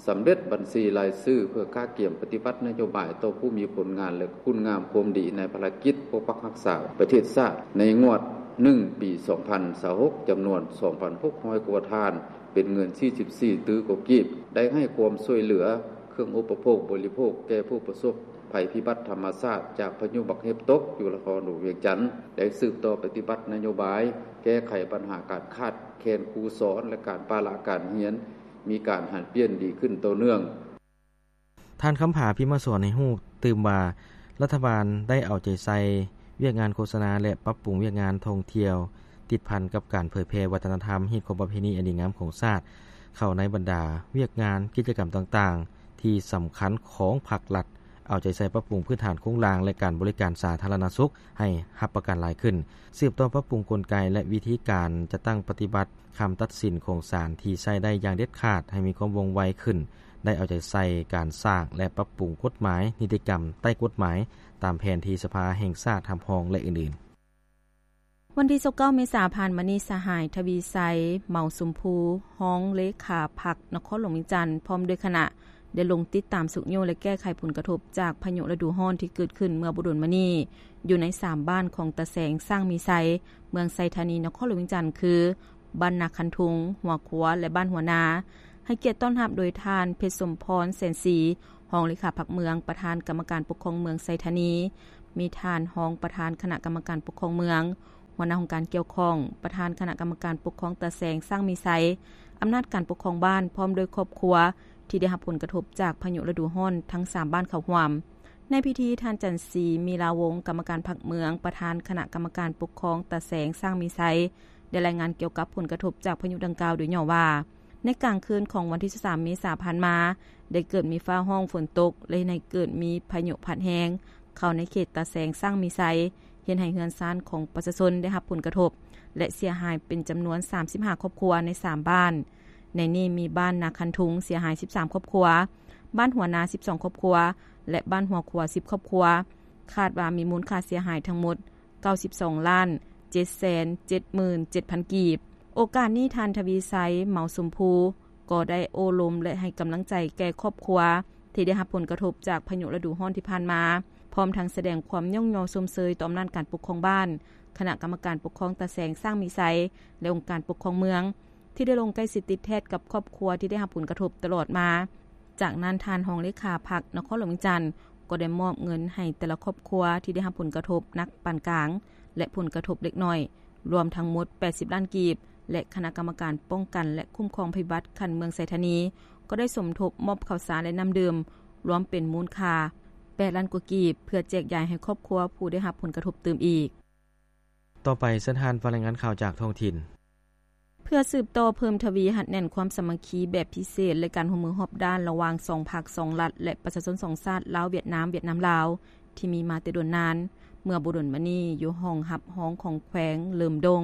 ສຳເລັດບັນຊີລາຍຊື່ເພື່ອກະກຽມປະຕິບັດນະໂຍບາຍຕໍ່ຜູ້ມີຜົນງານ ແລະ ຄຸນງາມຄວາມດີໃນພາລະກິດປົກປັກຮັກສາປະເທດຊາດໃນງວດໜຶ່ງປີ ສອງພັນຊາວຫົກ ຈຳນວນສອງພັນຫົກຮ້ອຍກວ່າທ່ານ, ເປັນເງິນສີ່ສິບສີ່ຕື້ກວ່າກີບ, ໄດ້ໃຫ້ຄວາມຊ່ວຍເຫຼືອເຄື່ອງອຸປະໂພກບໍລິໂພກແກ່ຜູ້ປະສົບໄພພິບັດທຳມະຊາດຈາກພາຍຸໝາກເຫັບຕົກຢູ່ນະຄອນຫຼວງວຽງຈັນ, ໄດ້ສືບຕໍ່ປະຕິບັດນະໂຍບາຍແກ້ໄຂບັນຫາການຂາດແຄນຄູສອນ ແລະ ການປະລະການຮຽນ ມີການຫັນປ່ຽນດີຂຶ້ນຕໍ່ເນື່ອງ. ທ່ານ ຄຳຜາ ພິມມະສອນ ໃຫ້ຮູ້ຕື່ມວ່າ ລັດຖະບານໄດ້ເອົາໃຈໃສ່ວຽກງານໂຄສະນາ ແລະ ປັບປຸງວຽກງານທ່ອງທ່ຽວ ຕິດພັນກັບການເຜີຍແຜ່ວັດທະນະທຳ, ຮີດຄອງປະເພນີອັນດີງາມຂອງຊາດ ເຂົ້າໃນບັນດາວຽກງານກິດຈະກຳຕ່າງໆ ທີ່ສຳຄັນຂອງພັກລັດ, ເອົາໃຈໃສ່ປັບປຸງພື້ນຖານໂຄງລ່າງ ແລະ ການບໍລິການສາທາລະນະສຸກໃຫ້ຮັບປະກັນຫຼາຍຂຶ້ນ, ສືບຕໍ່ປັບປຸງກົນໄກ ແລະ ວິທີການຈັດຕັ້ງປະຕິບັດຄຳຕັດສິນຂອງສານທີ່ໃຊ້ໄດ້ຢ່າງເດັດຂາດໃຫ້ມີຄວາມວ່ອງໄວຂຶ້ນ, ໄດ້ເອົາໃຈໃສ່ການສ້າງ ແລະ ປັບປຸງກົດໝາຍນິຕິກຳໃຕ້ກົດໝາຍ ຕາມແຜນທີ່ສະພາແຫ່ງຊາດຮັບຮອງ ແລະ ອື່ນໆ. ວັນທີຊາວເກົ້າເມສາຜ່ານມານີ້, ສະຫາຍ ທະວີໄຊ ເໝົາຊົມພູ ຮອງເລຂາພັກນະຄອນຫຼວງວຽງຈັນ ພ້ອມດ້ວຍຄະນະ ໄດ້ລົງຕິດຕາມຊຸກຍູ້ ແລະ ແກ້ໄຂຜົນກະທົບຈາກພາຍຸລະດູຮ້ອນທີ່ເກີດຂຶ້ນເມື່ອບໍ່ດົນມານີ້ ຢູ່ໃນສາມບ້ານຂອງຕາແສງ ຊ້າງມີໄຊ ເມືອງໄຊທານີ ນະຄອນຫຼວງວຽງຈັນ ຄື ບ້ານນາຄັນທຸງ, ຫົວຂົວ ແລະ ບ້ານຫົວນາ, ໃຫ້ກຽດຕ້ອນຮັບໂດຍທ່ານ ເພັດສົມພອນ ແສນສີ ຮອງເລຂາພັກເມືອງ, ປະທານກຳມະການປົກຄອງເມືອງໄຊທານີ, ມີທ່ານຮອງປະທານຄະນະກຳມະການປົກຄອງເມືອງ, ຫົວໜ້າຫ້ອງການກ່ຽວຂ້ອງ, ປະທານຄະນະກຳມະການປົກຄອງຕາແສງ ຊ້າງມີໄຊ, ອຳນາດການປົກຄອງບ້ານ ພ້ອມດ້ວຍຄອບຄົວທີ່ໄດ້ຮັບຜົນກະທົບຈາກພາຍຸລະດູຮ້ອນທັງສາມບ້ານເຂົ້າຮ່ວມ. ໃນພິທີ, ທ່ານ ຈັນສີ ມີລາວົງ ກຳມະການພັກເມືອງ, ປະທານຄະນະກຳມະການປົກຄອງຕາແສງ ຊ້າງມີໄຊ ໄດ້ລາຍງານກ່ຽວກັບຜົນກະທົບຈາກພາຍຸດັ່ງກ່າວໂດຍຫຍໍ້ວ່າ, ໃນກາງຄືນຂອງວັນທີຊາວສາມເມສາຜ່ານມາ, ໄດ້ເກີດມີຟ້າຮ້ອງຝົນຕົກ ແລະ ເຮັດໃຫ້ເກີດມີພາຍຸພັດແຮງເຂົ້າໃນເຂດຕາແສງ ຊ້າງມີໄຊ, ເຮັດໃຫ້ເຮືອນຊານຂອງປະຊາຊົນໄດ້ຮັບຜົນກະທົບ ແລະ ເສຍຫາຍເປັນຈຳນວນສາມສິບຫ້າຄອບຄົວໃນສາມບ້ານ. ໃນນີ້ມີບ້ານນາຄັນທຸງເສຍຫາຍສິບສາມຄອບຄົວ, ບ້ານຫົວນາສິບສອງຄອບຄົວ ແລະ ບ້ານຫົວຂົວສິບຄອບຄົວ. ຄາດວ່າມີມູນຄ່າເສຍຫາຍທັງໝົດ ເກົ້າສິບສອງລ້ານເຈັດແສນເຈັດໝື່ນເຈັດພັນກີບ. ໂອກາດນີ້, ທ່ານ ທະວີໄຊ ເໝົາຊົມພູ ກໍໄດ້ໂອ້ລົມ ແລະ ໃຫ້ກຳລັງໃຈແກ່ຄອບຄົວທີ່ໄດ້ຮັບຜົນກະທົບຈາກພາຍຸລະດູຮ້ອນທີ່ຜ່ານມາ, ພ້ອມທັງສະແດງຄວາມຍ້ອງຍໍຊົມເຊີຍຕໍ່ອຳນາດການປົກຄອງບ້ານ, ຄະນະກຳມະການປົກຄອງຕາແສງ, ຊ້າງມີໄຊ ແລະ ອົງການປົກຄອງເມືອງ ທີ່ໄດ້ລົງໃກ້ຊິດຕິດແທດກັບຄອບຄົວທີ່ໄດ້ຮັບຜົນກະທົບຕະຫຼອດມາ. ຈາກນັ້ນ, ທ່ານຮອງເລຂາພັກນະຄອນຫຼວງວຽງຈັນ ກໍໄດ້ມອບເງິນໃຫ້ແຕ່ລະຄອບຄົວທີ່ໄດ້ຮັບຜົນກະທົບໜັກປານກາງ ແລະ ຜົນກະທົບເລັກນ້ອຍ ລວມທັງໝົດ ແປດສິບລ້ານກີບ ແລະ ຄະນະກຳມະການປ້ອງກັນ ແລະ ຄຸ້ມຄອງໄພພິບັດຂັ້ນເມືອງໄຊທານີ ກໍໄດ້ສົມທົບມອບເຂົ້າສານ ແລະ ນ້ຳດື່ມ ລວມເປັນມູນຄ່າ ແປດລ້ານກວ່າກີບ ເພື່ອແຈກຢາຍໃຫ້ຄອບຄົວຜູ້ໄດ້ຮັບຜົນກະທົບຕື່ມອີກ. ຕໍ່ໄປເຊີນທ່ານຟັງລາຍງານຂ່າວຈາກທ້ອງຖິ່ນ. ເພື່ອສືບຕໍ່ເພີ່ມທະວີຮັດແໜ້ນຄວາມສາມັກຄີແບບພິເສດ ແລະ ການຮ່ວມມືຮອບດ້ານລະຫວ່າງສອງພັກສອງລັດ ແລະ ປະຊາຊົນສອງຊາດ ລາວ-ຫວຽດນາມ, ຫວຽດນາມ-ລາວ ທີ່ມີມາແຕ່ດົນນານ. ເມື່ອບໍ່ດົນມານີ້, ຢູ່ຫ້ອງຮັບຮອງຂອງແຂວງເຫຼີມດົງ,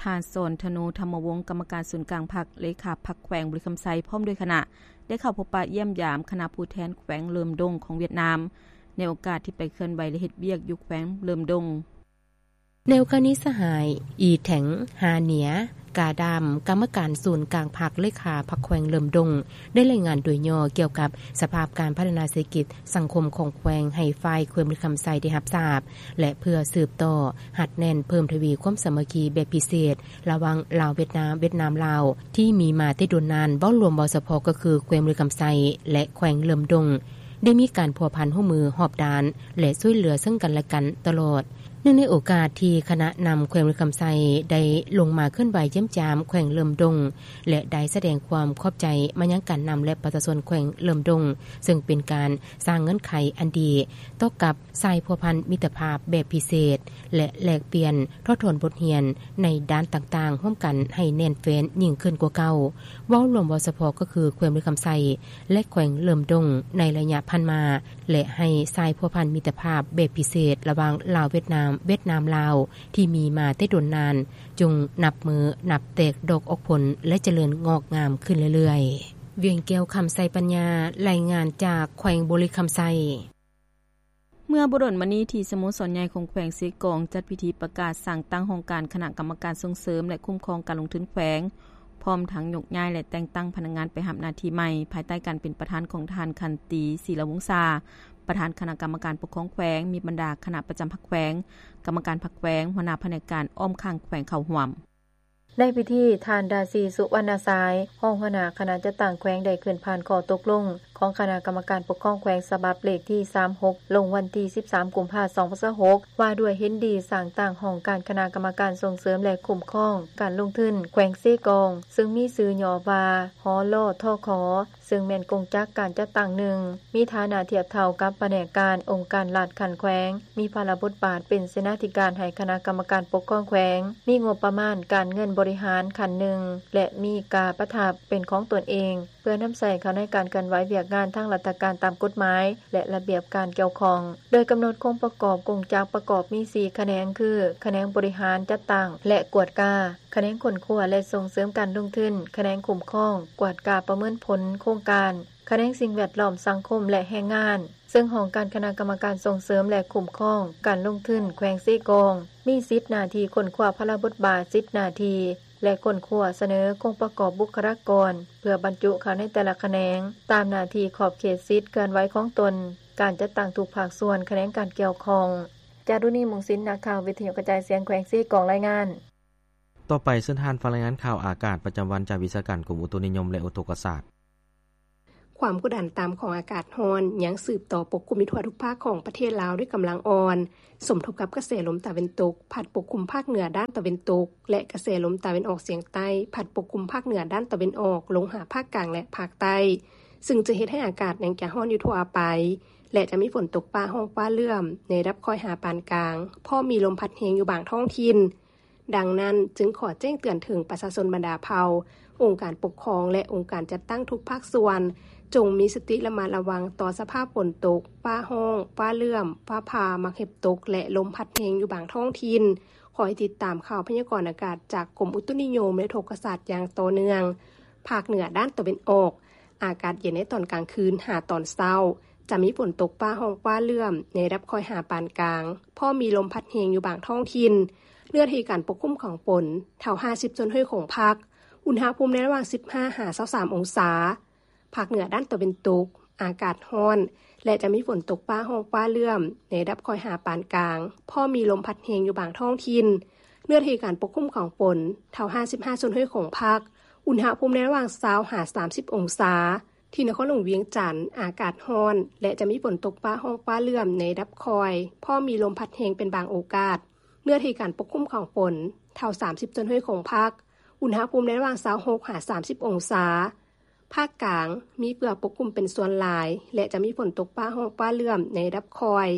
ທ່ານ ສອນທະໂນ ທຳມະວົງ ກຳມະການສູນກາງພັກ, ເລຂາພັກແຂວງບໍລິຄຳໄຊ ພ້ອມດ້ວຍຄະນະ ໄດ້ເຂົ້າພົບປະຢ້ຽມຢາມຄະນະຜູ້ແທນແຂວງເຫຼີມດົງຂອງຫວຽດນາມ ໃນໂອກາດທີ່ໄປເຄື່ອນໄຫວ ແລະ ເຮັດວຽກຢູ່ແຂວງເຫຼີມດົງ. ແນວຄະນິດສະຫາຍ ອີແຖງ ຫາເໜຍ ກາດາມ ກຳມະການສູນກາງພັກ ເລຂາພັກແຂວງເຫຼີມດົງ ໄດ້ລາຍງານໂດຍຫຍໍ້ກ່ຽວກັບສະພາບການພັດທະນາເສດຖະກິດສັງຄົມຂອງແຂວງ ໃຫ້ຝ່າຍແຂວງບໍລິຄຳໄຊໄດ້ຮັບຊາບ ແລະ ເພື່ອສືບຕໍ່ຮັດແໜ້ນເພີ່ມທະວີຄວາມສາມັກຄີແບບພິເສດ ລະຫວ່າງລາວ-ຫວຽດນາມ, ຫວຽດນາມ-ລາວ ທີ່ມີມາແຕ່ດົນນານ, ເວົ້າລວມເວົ້າສະເພາະກໍຄືແຂວງບໍລິຄຳໄຊ ແລະ ແຂວງເຫຼີມດົງ ໄດ້ມີການພົວພັນຮ່ວມມືຮອບດ້ານ ແລະ ຊ່ວຍເຫຼືອເຊິ່ງກັນແລະກັນຕະຫຼອດ. ເນື່ອງໃນໂອກາດທີ່ຄະນະນຳແຂວງບໍລິຄຳໄຊໄດ້ລົງມາເຄື່ອນໄຫວຢ້ຽມຢາມແຂວງເຫຼີມດົງ ແລະ ໄດ້ສະແດງຄວາມຂອບໃຈມາຍັງການນຳ ແລະ ປະຊາຊົນແຂວງເຫຼີມດົງ, ເຊິ່ງເປັນການສ້າງເງື່ອນໄຂອັນດີຕໍ່ກັບສາຍພົວພັນມິດຕະພາບແບບພິເສດ ແລະ ແລກປ່ຽນຖອດຖອນບົດຮຽນໃນດ້ານຕ່າງໆຮ່ວມກັນໃຫ້ແໜ້ນແຟ້ນຍິ່ງຂຶ້ນກວ່າເກົ່າ, ເວົ້າລວມເວົ້າສະເພາະກໍຄືແຂວງບໍລິຄຳໄຊ ແລະ ແຂວງເຫຼີມດົງໃນໄລຍະຜ່ານມາ ແລະ ໃຫ້ສາຍພົວພັນມິດຕະພາບແບບພິເສດລະຫວ່າງລາວ-ຫວຽດນາມ, ຫວຽດນາມ-ລາວ ທີ່ມີມາແຕ່ດົນນານ ຈົ່ງນັບມື້ນັບແຕກດອກອອກຜົນ ແລະ ຈະເລີນງອກງາມຂຶ້ນເລື້ອຍໆ. ວຽງແກ້ວ ຄຳໄຊປັນຍາ ລາຍງານຈາກແຂວງບໍລິຄຳໄຊ. ເມື່ອບໍ່ດົນມານີ້ ທີ່ສະໂມສອນໃຫຍ່ຂອງແຂວງເຊກອງ ຈັດພິທີປະກາດສ້າງຕັ້ງຫ້ອງການຄະນະກຳມະການສົ່ງເສີມ ແລະ ຄຸ້ມຄອງການລົງທຶນແຂວງ, ພ້ອມທັງຍົກຍ້າຍ ແລະ ແຕ່ງຕັ້ງພະນັກງານໄປຮັບໜ້າທີ່ໃໝ່ ພາຍໃຕ້ການເປັນປະທານຂອງທ່ານ ຂັນຕີ ສີລະວົງສາ, ປະທານຄະນະກຳມະການປົກຄອງແຂວງ, ມີບັນດາຄະນະປະຈຳພັກແຂວງ, ກຳມະການພັກແຂວງ, ຫົວໜ້າພະແນກການອ້ອມຂ້າງແຂວງເຂົ້າຮ່ວມ. ໃນພິທີ, ທ່ານ ດາຊີ ສຸວັນນະຊາຍ ຮອງຫົວໜ້າຄະນະຈັດຕັ້ງແຂວງ ໄດ້ຂຶ້ນຜ່ານຂໍ້ຕົກລົງຂອງຄະນະກຳມະການປົກຄອງແຂວງ ສະບັບເລກທີສາມຫົກ ລົງວັນທີສິບສາມ ກຸມພາ ສອງພັນຊາວຫົກ ວ່າດ້ວຍເຫັນດີສ້າງຕັ້ງຫ້ອງການຄະນະກຳມະການສົ່ງເສີມ ແລະ ຄຸ້ມຄອງການລົງທຶນແຂວງເຊກອງ, ເຊິ່ງມີຊື່ຫຍໍ້ວ່າ ຫລທຂ ເຊິ່ງແມ່ນກົງຈັກການຈັດຕັ້ງໜຶ່ງ ມີຖານະທຽບເທົ່າກັບພະແນກການອົງການລັດຂັ້ນແຂວງ, ມີພາລະບົດບາດເປັນເສນາທິການໃຫ້ຄະນະກຳມະການປົກຄອງແຂວງ, ມີງົບປະມານການເງິນບໍລິຫານຂັ້ນໜຶ່ງ ແລະ ມີກາປະທັບເປັນຂອງຕົນເອງ ເພື່ອນຳໃຊ້ເຂົ້າໃນການເຄື່ອນໄຫວວຽກງານທາງລັດຖະການຕາມກົດໝາຍ ແລະ ລະບຽບການກ່ຽວຂ້ອງ, ໂດຍກຳນົດໂຄງປະກອບກົງຈັກປະກອບມີສີ່ຂະແໜງ ຄື ຂະແໜງບໍລິຫານ, ຈັດຕັ້ງ ແລະ ກວດກາ, ຂະແໜງຄົ້ນຄວ້າ ແລະ ສົ່ງເສີມການລົງທຶນ, ຂະແໜງຄຸ້ມຄອງ, ກວດກາປະເມີນຜົນໂຄງການ, ຂະແໜງສິ່ງແວດລ້ອມ, ສັງຄົມ ແລະ ແຮງງານ, ເຊິ່ງຫ້ອງການຄະນະກຳມະການສົ່ງເສີມ ແລະ ຄຸ້ມຄອງການລົງທຶນແຂວງເຊກອງ ມີສິດໜ້າທີ່ຄົ້ນຄວ້າພາລະບົດບາດ, ສິດໜ້າທີ່ ແລະ ຄົ້ນຄວ້າສະເໜີໂຄງປະກອບບຸກຄະລາກອນ ເພື່ອບັນຈຸເຂົ້າໃນແຕ່ລະຂະແໜງ ຕາມໜ້າທີ່ຂອບເຂດສິດເຄື່ອນໄຫວຂອງຕົນ, ການຈັດຕັ້ງທຸກພາກສ່ວນຂະແໜງການກ່ຽວຂ້ອງ. ຈາລຸນີ ມົງສິນ ນັກຂ່າວວິທະຍຸກະຈາຍສຽງແຂວງເຊກອງ ລາຍງານ. ຕໍ່ໄປເຊີນທ່ານຟັງລາຍງານຂ່າວອາກາດປະຈຳວັນຈາກວິຊາການກົມອຸຕຸນິຍົມ ແລະ ອຸທົກກະສາດ. ຄວາມກົດດັນຕ່ຳຂອງອາກາດຮ້ອນຍັງສືບຕໍ່ປົກຄຸມຢູ່ທົ່ວທຸກພາກຂອງປະເທດລາວດ້ວຍກຳລັງອ່ອນ, ສົມທົບກັບກະແສລົມຕາເວັນຕົກພັດປົກຄຸມພາກເໜືອດ້ານຕາເວັນຕົກ ແລະ ກະແສລົມຕາເວັນອອກສຽງໃຕ້ພັດປົກຄຸມພາກເໜືອດ້ານຕາເວັນອອກລົງຫາພາກກາງ ແລະ ພາກໃຕ້, ຊຶ່ງຈະເຮັດໃຫ້ອາກາດຍັງຈະຮ້ອນຢູ່ທົ່ວໄປ ແລະ ຈະມີຝົນຕົກຟ້າຮ້ອງຟ້າເຫຼື້ອມໃນລະດັບຄ່ອຍຫາປານກາງ, ພ້ອມມີລົມພັດແຮງຢູ່ບາງທ້ອງຖິ່ນ. ດັ່ງນັ້ນ, ຈຶ່ງຂໍແຈ້ງເຕືອນເຖິງປະຊາຊົນບັນດາເຜົ່າ, ອົງການປົກຄອງ ແລະ ອົງການຈັດຕັ້ງທຸກພາກສ່ວນ, ຈົ່ງມີສະຕິລະມັດລະວັງຕໍ່ສະພາບຝົນຕົກ, ຟ້າຮ້ອງ, ຟ້າເຫຼື້ອມ, ຟ້າຜ່າ, ໝາກເຫັບຕົກ ແລະ ລົມພັດແຮງຢູ່ບາງທ້ອງຖິ່ນ. ຄອຍຕິດຕາມຂ່າວພະຍາກອນອາກາດຈາກກົມອຸຕຸນິຍົມ ແລະ ອຸທົກກະສາດຢ່າງຕໍ່ເນື່ອງ. ພາກເໜືອດ້ານຕາເວັນອອກ, ອາກາດເຢັນໃນຕອນກາງຄືນຫາຕອນເຊົ້າ, ຈະມີຝົນຕົກຟ້າຮ້ອງຟ້າເຫຼື້ອມໃນລະດັບຄ່ອຍຫາປານກາງ, ພ້ອມມີລົມພັດແຮງຢູ່ບາງທ້ອງຖິ່ນ. ເນື້ອທີ່ການປົກຄຸມຂອງຝົນເທົ່າຫ້າສິບສ່ວນຮ້ອຍຂອງພາກ, ອຸນຫະພູມໃນລະຫວ່າງສິບຫ້າຫາຊາວສາມອົງສາ. ພາກເໜືອດ້ານຕາເວັນຕົກ, ອາກາດຮ້ອນ, ແລະ ຈະມີຝົນຕົກຟ້າຮ້ອງຟ້າເຫຼື້ອມ ໃນລະດັບຄ່ອຍຫາປານກາງ, ພ້ອມມີລົມພັດແຮງຢູ່ບາງທ້ອງຖິ່ນ. ເນື້ອທີ່ການປົກຄຸມຂອງຝົນ ເທົ່າຫ້າສິບຫ້າສ່ວນຮ້ອຍຂອງພາກ, ອຸນຫະພູມໃນລະຫວ່າງຊາວຫາສາມສິບອົງສາ. ທີ່ນະຄອນຫຼວງວຽງຈັນ ອາກາດຮ້ອນ ແລະ ຈະມີຝົນຕົກຟ້າຮ້ອງຟ້າເຫຼື້ອມໃນລະດັບຄ່ອຍ, ພ້ອມມີລົມພັດແຮງເປັນບາງໂອກາດ. ເນື້ອທີ່ການປົກຄຸມຂອງຝົນ ເທົ່າສາມສິບສ່ວນຮ້ອຍຂອງພາກ, ອຸນຫະພູມໃນລະຫວ່າງຊາວຫົກຫາສາມສິບອົງສາ. ພາກກາງ ມີເຝືອປົກຄຸມເປັນສ່ວນຫຼາຍ ແລະ ຈະມີຝົນຕົກຟ້າຮ້ອງຟ້າເຫຼື້ອມໃນລະດັບຄ່ອຍ,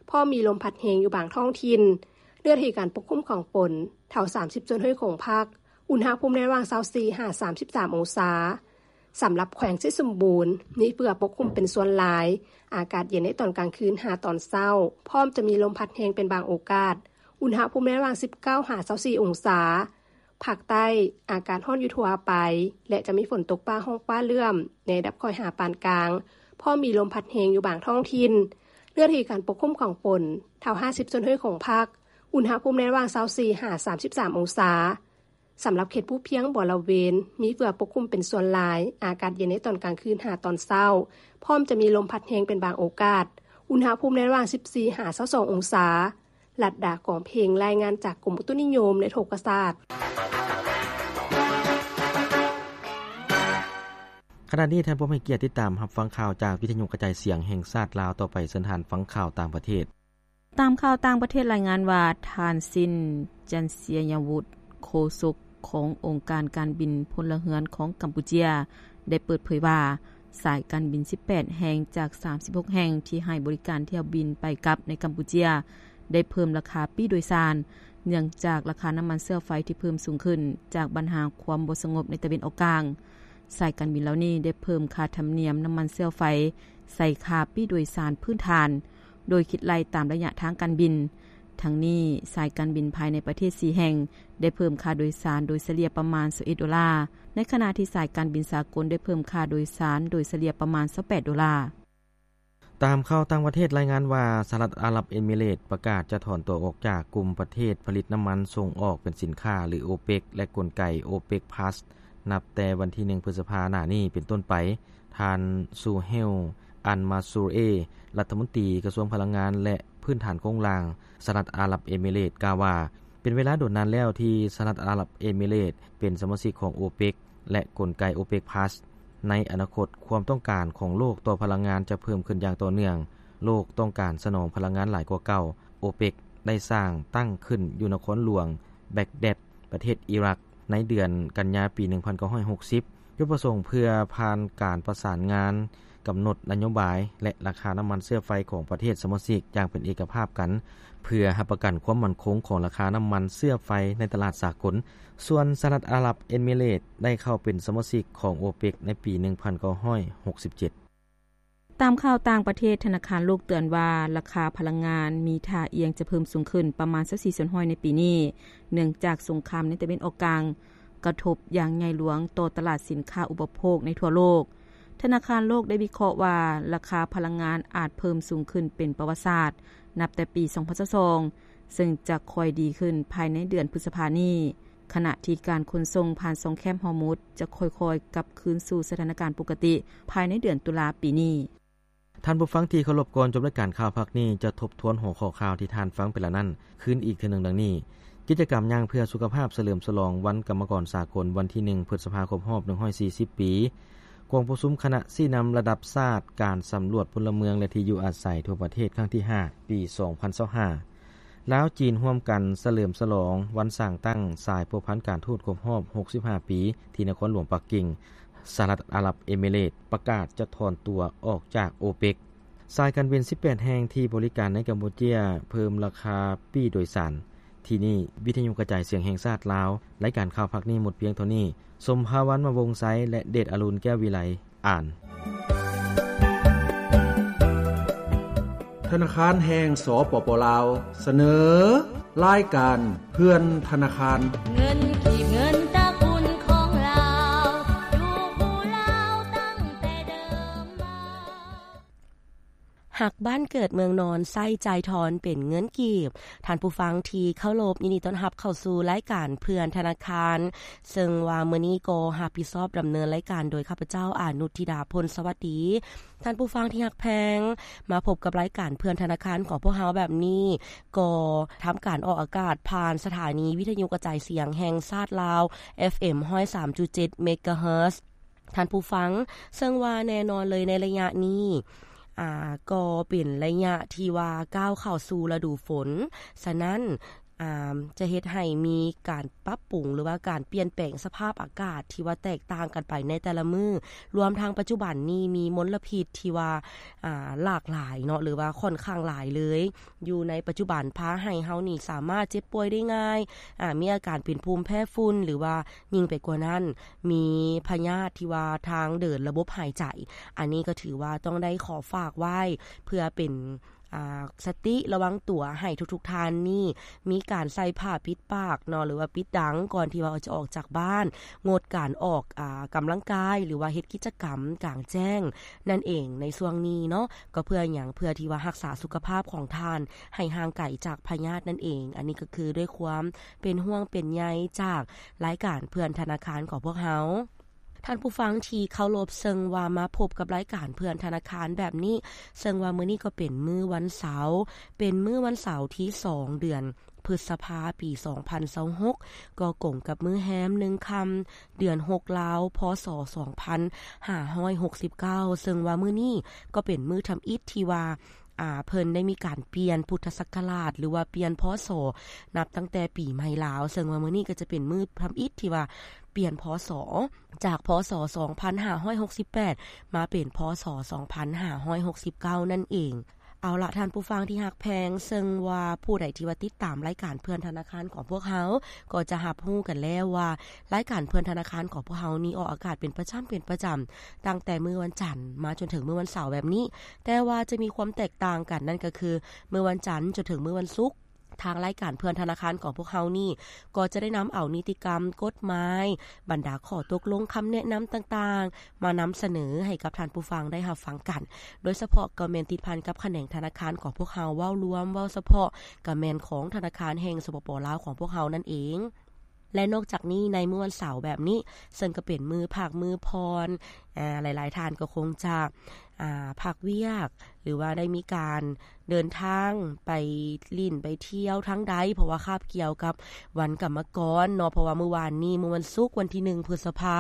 ພ້ອມມີລົມພັດແຮງຢູ່ບາງທ້ອງຖິ່ນ. ເນື້ອທີ່ການປົກຄຸມຂອງຝົນ ເທົ່າສາມສິບສ່ວນຮ້ອຍຂອງພາກ, ອຸນຫະພູມໃນລະຫວ່າງຊາວສີ່ຫາສາມສິບສາມອົງສາ. ສຳລັບແຂວງໄຊສົມບູນ ມີເຝືອປົກຄຸມເປັນສ່ວນຫຼາຍ, ອາກາດເຢັນໃນຕອນກາງຄືນຫາຕອນເຊົ້າ, ພ້ອມຈະມີລົມພັດແຮງເປັນບາງໂອກາດ, ອຸນຫະພູມໃນລະຫວ່າງສິບເກົ້າຫາຊາວສີ່ອົງສາ. ພາກໃຕ້ ອາກາດຮ້ອນຢູ່ທົ່ວໄປ ແລະ ຈະມີຝົນຕົກຟ້າຮ້ອງຟ້າເຫຼື້ອມ ໃນລະດັບຄ່ອຍຫາປານກາງ, ພ້ອມມີລົມພັດແຮງຢູ່ບາງທ້ອງຖິ່ນ. ເນື້ອທີ່ການປົກຄຸມຂອງຝົນ ເທົ່າຫ້າສິບສ່ວນຮ້ອຍຂອງພາກ, ອຸນຫະພູມໃນລະຫວ່າງຊາວສີ່ຫາສາມສິບສາມອົງສາ. ສຳລັບເຂດພູພຽງບໍລະເວນ ມີເຝືອປົກຄຸມເປັນສ່ວນຫຼາຍ, ອາກາດເຢັນໃນຕອນກາງຄືນຫາຕອນເຊົ້າ, ພ້ອມຈະມີລົມພັດແຮງເປັນບາງໂອກາດ, ອຸນຫະພູມໃນລະຫວ່າງສິບສີ່ຫາຊາວສອງອົງສາ. ລັດດາ ກອງເພັງ ລາຍງານຈາກກົມອຸຕຸນິຍົມ ແລະ ອຸທົກກະສາດ. ຂະນະນີ້ທ່ານຜູ້ໃຫ້ກຽດຕິດຕາມຮັບຟັງຂ່າວຈາກວິທະຍຸກະຈາຍສຽງແຫ່ງຊາດລາວ. ຕໍ່ໄປເຊີນທ່ານຟັງຂ່າວຕ່າງປະເທດ. ຕາມຂ່າວຕ່າງປະເທດລາຍງານວ່າ ທ່ານ ຊິນ ຈັນເຊຍະວຸດ ໂຄສົກຂອງອົງການການບິນພົນລະເຮືອນຂອງກຳປູເຈຍ ໄດ້ເປີດເຜີຍວ່າ ສາຍການບິນສິບແປດແຫ່ງຈາກສາມສິບຫົກແຫ່ງທີ່ໃຫ້ບໍລິການຖ້ຽວບິນໄປກັບໃນກຳປູເຈຍ ໄດ້ເພີ່ມລາຄາປີ້ໂດຍສານ ເນື່ອງຈາກລາຄານ້ຳມັນເຊື້ອໄຟທີ່ເພີ່ມສູງຂຶ້ນ ຈາກບັນຫາຄວາມບໍ່ສະຫງົບໃນຕາເວັນອອກກາງ. ສາຍການບິນເຫຼົ່ານີ້ໄດ້ເພີ່ມຄ່າທຳນຽມນ້ຳມັນເຊື້ອໄຟໃສ່ຄ່າປີ້ໂດຍສານພື້ນຖານ ໂດຍຄິດໄລ່ຕາມໄລຍະທາງການບິນ. ທັງນີ້, ສາຍການບິນພາຍໃນປະເທດສີ່ແຫ່ງ ໄດ້ເພີ່ມຄ່າໂດຍສານໂດຍສະເລ່ຍປະມານຊາວເອັດໂດລາ, ໃນຂະນະທີ່ສາຍການບິນສາກົນໄດ້ເພີ່ມຄ່າໂດຍສານໂດຍສະເລ່ຍປະມານຊາວແປດໂດລາ. ຕາມຂ່າວຕ່າງປະເທດລາຍງານວ່າ ສະຫະລັດອາຣັບເອມິເຣດ ປະກາດຈະຖອນຕົວອອກຈາກກຸ່ມປະເທດຜະລິດນ້ຳມັນສົ່ງອອກເປັນສິນຄ້າ ຫຼື ໂອເປັກ ແລະ ກົນໄກ ໂອເປັກພລັສ ນັບແຕ່ວັນທີໜຶ່ງ ພຶດສະພາ ໜ້ານີ້ເປັນຕົ້ນໄປ. ທ່ານ ຊູເຮວ ອັນມາຊູເອ ລັດຖະມົນຕີກະຊວງພະລັງງານ ແລະ ພື້ນຖານໂຄງລ່າງ ສະຫະລັດອາຣັບເອມິເຣດ ກ່າວວ່າ ເປັນເວລາດົນນານແລ້ວທີ່ສະຫະລັດອາຣັບເອມິເຣດເປັນສະມາຊິກຂອງໂອເປັກ ແລະ ກົນໄກໂອເປັກພລັສ. ໃນອະນາຄົດ, ຄວາມຕ້ອງການຂອງໂລກຕໍ່ພະລັງງານຈະເພີ່ມຂຶ້ນຢ່າງຕໍ່ເນື່ອງ. ໂລກຕ້ອງການສະໜອງພະລັງງານຫຼາຍກວ່າເກົ່າ. ໂອເປັກໄດ້ສ້າງຕັ້ງຂຶ້ນຢູ່ນະຄອນຫຼວງແບັກແດັດ ປະເທດອີຣັກ ໃນເດືອນກັນຍາປີໜຶ່ງພັນເກົ້າຮ້ອຍຫົກສິບ ຈຸດປະສົງເພື່ອຜ່ານການປະສານງານ ກຳນົດນະໂຍບາຍ ແລະ ລາຄານ້ຳມັນເຊື້ອໄຟຂອງປະເທດສະມາຊິກຢ່າງເປັນເອກະພາບກັນ ເພື່ອຮັບປະກັນຄວາມໝັ້ນຄົງຂອງລາຄານ້ຳມັນເຊື້ອໄຟໃນຕະຫຼາດສາກົນ. ສ່ວນສະຫະລັດອາຣັບເອມິເຣດໄດ້ເຂົ້າເປັນສະມາຊິກຂອງໂອເປັກໃນປີໜຶ່ງພັນເກົ້າຮ້ອຍຫົກສິບເຈັດ. ຕາມຂ່າວຕ່າງປະເທດ, ທະນາຄານໂລກເຕືອນວ່າ ລາຄາພະລັງງານມີທ່າອ່ຽງຈະເພີ່ມສູງຂຶ້ນປະມານຊາວສີ່ສ່ວນຮ້ອຍໃນປີນີ້ ເນື່ອງຈາກສົງຄາມໃນຕາເວັນອອກກາງ ກະທົບຢ່າງໃຫຍ່ຫຼວງຕໍ່ຕະຫຼາດສິນຄ້າອຸປະໂພກໃນທົ່ວໂລກ. ທະນາຄານໂລກໄດ້ວິເຄາະວ່າ ລາຄາພະລັງງານອາດເພີ່ມສູງຂຶ້ນເປັນປະຫວັດສາດ ນັບແຕ່ປີສອງພັນຊາວສອງ ເຊິ່ງຈະຄ່ອຍດີຂຶ້ນພາຍໃນເດືອນພຶດສະພານີ້, ຂະນະທີ່ການຂົນສົ່ງຜ່ານຊ່ອງແຄບຮອຣ໌ມຸດຈະຄ່ອຍໆກັບຄືນສູ່ສະຖານະການປົກກະຕິພາຍໃນເດືອນຕຸລາປີນີ້. ທ່ານຜູ້ຟັງທີ່ເຄົາລົບ, ກ່ອນຈົບລາຍການຂ່າວພາກນີ້ ຈະທົບທວນຫົວຂໍ້ຂ່າວທີ່ທ່ານຟັງໄປແລ້ວນັ້ນຄືນອີກເທື່ອໜຶ່ງ ດັ່ງນີ້. ກິດຈະກຳຍ່າງເພື່ອສຸຂະພາບສະເຫຼີມສະຫຼອງວັນກຳມະກອນສາກົນ ວັນທີໜຶ່ງ ພຶດສະພາ ຄົບຮອບໜຶ່ງຮ້ອຍສີ່ສິບປີ. ກອງປະຊຸມຄະນະຊີ້ນຳລະດັບຊາດ ການສຳຫຼວດພົນລະເມືອງ ແລະ ທີ່ຢູ່ອາໄສທົ່ວປະເທດ ຄັ້ງທີຫ້າ ປີສອງພັນຊາວຫ້າ. ລາວ-ຈີນ ຮ່ວມກັນສະເຫຼີມສະຫຼອງວັນສ້າງຕັ້ງສາຍພົວພັນການທູດຄົບຮອບຫົກສິບຫ້າປີ ທີ່ນະຄອນຫຼວງປັກກິ່ງ. ສະຫະລັດອາຣັບເອມິເຣດ ປະກາດຈະຖອນຕົວອອກຈາກໂອເປັກ. ສາຍການບິນສິບແປດແຫ່ງທີ່ບໍລິການໃນກຳປູເຈຍ ເພີ່ມລາຄາປີ້ໂດຍສານ. ທີ່ນີ້ ວິທະຍຸກະຈາຍສຽງແຫ່ງຊາດລາວ. ລາຍການຂ່າວພາກນີ້ໝົດພຽງເທົ່ານີ້. ສົມພາວັນ ມະວົງໄຊ ແລະ ເດດອະລຸນ ແກ້ວວິໄລ ອ່ານ. ທະນາຄານແຫ່ງ ສປປ ລາວ ສະເໜີ ລາຍການເຮືອນທະນາຄານ. ເງິນກີບ ເງິນຕະກຸນຂອງລາວ ຢູ່ຜູ້ລາວຕັ້ງແຕ່ເດີມມາ. ຮັກບ້ານເກີດເມືອງນອນ ໃຊ້ຈ່າຍທອນເປັນເງິນກີບ. ທ່ານຜູ້ຟັງທີ່ເຄົາລົບ, ຍິນດີຕ້ອນຮັບເຂົ້າສູ່ລາຍການເພື່ອນທະນາຄານ, ເຊິ່ງວ່າມື້ນີ້ກໍຮັບຜິດຊອບດຳເນີນລາຍການໂດຍຂ້າພະເຈົ້າ ອານຸດທິດາ ພົນສະຫວັດດີ. ທ່ານຜູ້ຟັງທີ່ຮັກແພງ, ມາພົບກັບລາຍການເພື່ອນທະນາຄານຂອງພວກເຮົາແບບນີ້, ກໍທຳການອອກອາກາດຜ່ານສະຖານີວິທະຍຸກະຈາຍສຽງແຫ່ງຊາດລາວ ເອັຟເອັມ ຮ້ອຍສາມຈຸດເຈັດ ເມກາເຮີດ. ທ່ານຜູ້ຟັງ, ເຊິ່ງວ່າແນ່ນອນເລີຍໃນໄລຍະນີ້, ອ່າ, ກໍເປັນໄລຍະທີ່ວ່າກ້າວເຂົ້າສູ່ລະດູຝົນ. ສະນັ້ນ, ອ່າ, ຈະເຮັດໃຫ້ມີການປັບປຸງ ຫຼືວ່າການປ່ຽນແປງສະພາບອາກາດທີ່ວ່າແຕກຕ່າງກັນໄປໃນແຕ່ລະມື້, ລວມທັງປັດຈຸບັນນີ້ມີມົນລະພິດທີ່ວ່າ, ອ່າ, ຫຼາກຫຼາຍເນາະ, ຫຼືວ່າຂ້ອນຂ້າງຫຼາຍເລີຍ. ຢູ່ໃນປັດຈຸບັນພາໃຫ້ເຮົານີ້ສາມາດເຈັບປ່ວຍໄດ້ງ່າຍ, ອາ, ມີອາການເປັນພູມແພ້ຝຸ່ນ ຫຼືວ່າຍິ່ງໄປກວ່ານັ້ນ, ມີພະຍາດທີ່ວ່າທາງເດີນລະບົບຫາຍໃຈ. ອັນນີ້ກໍຖືວ່າຕ້ອງໄດ້ຂໍຝາກໄວ້ ເພື່ອເປັນ, ອາ, ສະຕິລະວັງຕົວໃຫ້ທຸກໆທ່ານນີ້ ມີການໃສ່ຜ້າປິດປາກເນາະ ຫຼືວ່າປິດດັງ ກ່ອນທີ່ວ່າຈະອອກຈາກບ້ານ, ງົດການອອກ, ອາ, ກຳລັງກາຍ ຫຼືວ່າເຮັດກິດຈະກຳກາງແຈ້ງນັ້ນເອງໃນຊ່ວງນີ້ເນາະ. ກໍເພື່ອຫຍັງ? ເພື່ອທີ່ວ່າຮັກສາສຸຂະພາບຂອງທ່ານໃຫ້ຫ່າງໄກຈາກພະຍາດນັ້ນເອງ. ອັນນີ້ກໍຄືດ້ວຍຄວາມເປັນຫ່ວງເປັນໃຍຈາກລາຍການເພື່ອນທະນາຄານຂອງພວກເຮົາ. ທ່ານຜູ້ຟັງທີ່ເຄົາລົບ, ເຊິ່ງວ່າມາພົບກັບລາຍການເພື່ອນທະນາຄານແບບນີ້, ເຊິ່ງວ່າມື້ນີ້ກໍເປັນມື້ວັນເສົາ, ເປັນມື້ວັນເສົາທີສອງ ເດືອນ ພຶດສະພາ ປີສອງພັນຊາວຫົກ ກໍກົງກັບມື້ແຮມໜຶ່ງຄ່ຳ ເດືອນຫົກລາວ ພ.ສ. ສອງພັນຫ້າຮ້ອຍຫົກສິບເກົ້າ ເຊິ່ງວ່າມື້ນີ້ກໍເປັນມື້ທຳອິດທີ່ວ່າ ອາ ເພິ່ນໄດ້ມີການປ່ຽນພຸດທະສັກກະລາດ ຫຼືວ່າປ່ຽນ ພ.ສ. ນັບຕັ້ງແຕ່ປີໃໝ່ລາວ, ເຊິ່ງວ່າມື້ນີ້ກໍຈະເປັນມື້ທຳອິດທີ່ວ່າປ່ຽນ ພ.ສ. ຈາກ ພ.ສ. ສອງພັນຫ້າຮ້ອຍຫົກສິບແປດ ມາເປັນ ພ.ສ. ສອງພັນຫ້າຮ້ອຍຫົກສິບເກົ້າ ນັ້ນເອງ. ເອົາລະ ທ່ານຜູ້ຟັງທີ່ຮັກແພງ, ເຊິ່ງວ່າຜູ້ໃດທີ່ວ່າຕິດຕາມລາຍການເພື່ອນທະນາຄານຂອງພວກເຮົາ ກໍຈະຮັບຮູ້ກັນແລ້ວວ່າ ລາຍການເພື່ອນທະນາຄານຂອງພວກເຮົານີ້ອອກອາກາດເປັນປະຈຳ, ເປັນປະຈຳ ຕັ້ງແຕ່ມື້ວັນຈັນມາຈົນເຖິງມື້ວັນເສົາແບບນີ້, ແຕ່ວ່າຈະມີຄວາມແຕກຕ່າງກັນ, ນັ້ນກໍຄື ມື້ວັນຈັນຈົນເຖິງມື້ວັນສຸກ, ທາງລາຍການເພື່ອນທະນາຄານຂອງພວກເຮົານີ້ ກໍຈະໄດ້ນຳເອົານິຕິກຳ, ກົດໝາຍ, ບັນດາຂໍ້ຕົກລົງ, ຄຳແນະນຳຕ່າງໆ ມານຳສະເໜີໃຫ້ກັບທ່ານຜູ້ຟັງໄດ້ຮັບຟັງກັນ, ໂດຍສະເພາະກໍແມ່ນຕິດພັນກັບຂະແໜງທະນາຄານຂອງພວກເຮົາ, ເວົ້າລວມ, ເວົ້າສະເພາະ ກໍແມ່ນຂອງທະນາຄານແຫ່ງ ສປປ ລາວ ຂອງພວກເຮົານັ້ນເອງ. ແລະ ນອກຈາກນີ້ ໃນມື້ວັນເສົາແບບນີ້ ເຊິ່ງກໍເປັນມື້ພັກ, ມື້ຜ່ອນ, ອາ, ຫຼາຍໆທ່ານກໍຄົງຈະ, ອາ, ພັກວຽກ ຫຼືວ່າໄດ້ມີການເດີນທາງໄປຫຼິ້ນໄປທ່ຽວທາງໃດ, ເພາະວ່າຄາບກ່ຽວກັບວັນກຳມະກອນເນາະ, ເພາະວ່າມື້ວານນີ້ ມື້ວັນສຸກ ວັນທີໜຶ່ງ ພຶດສະພາ,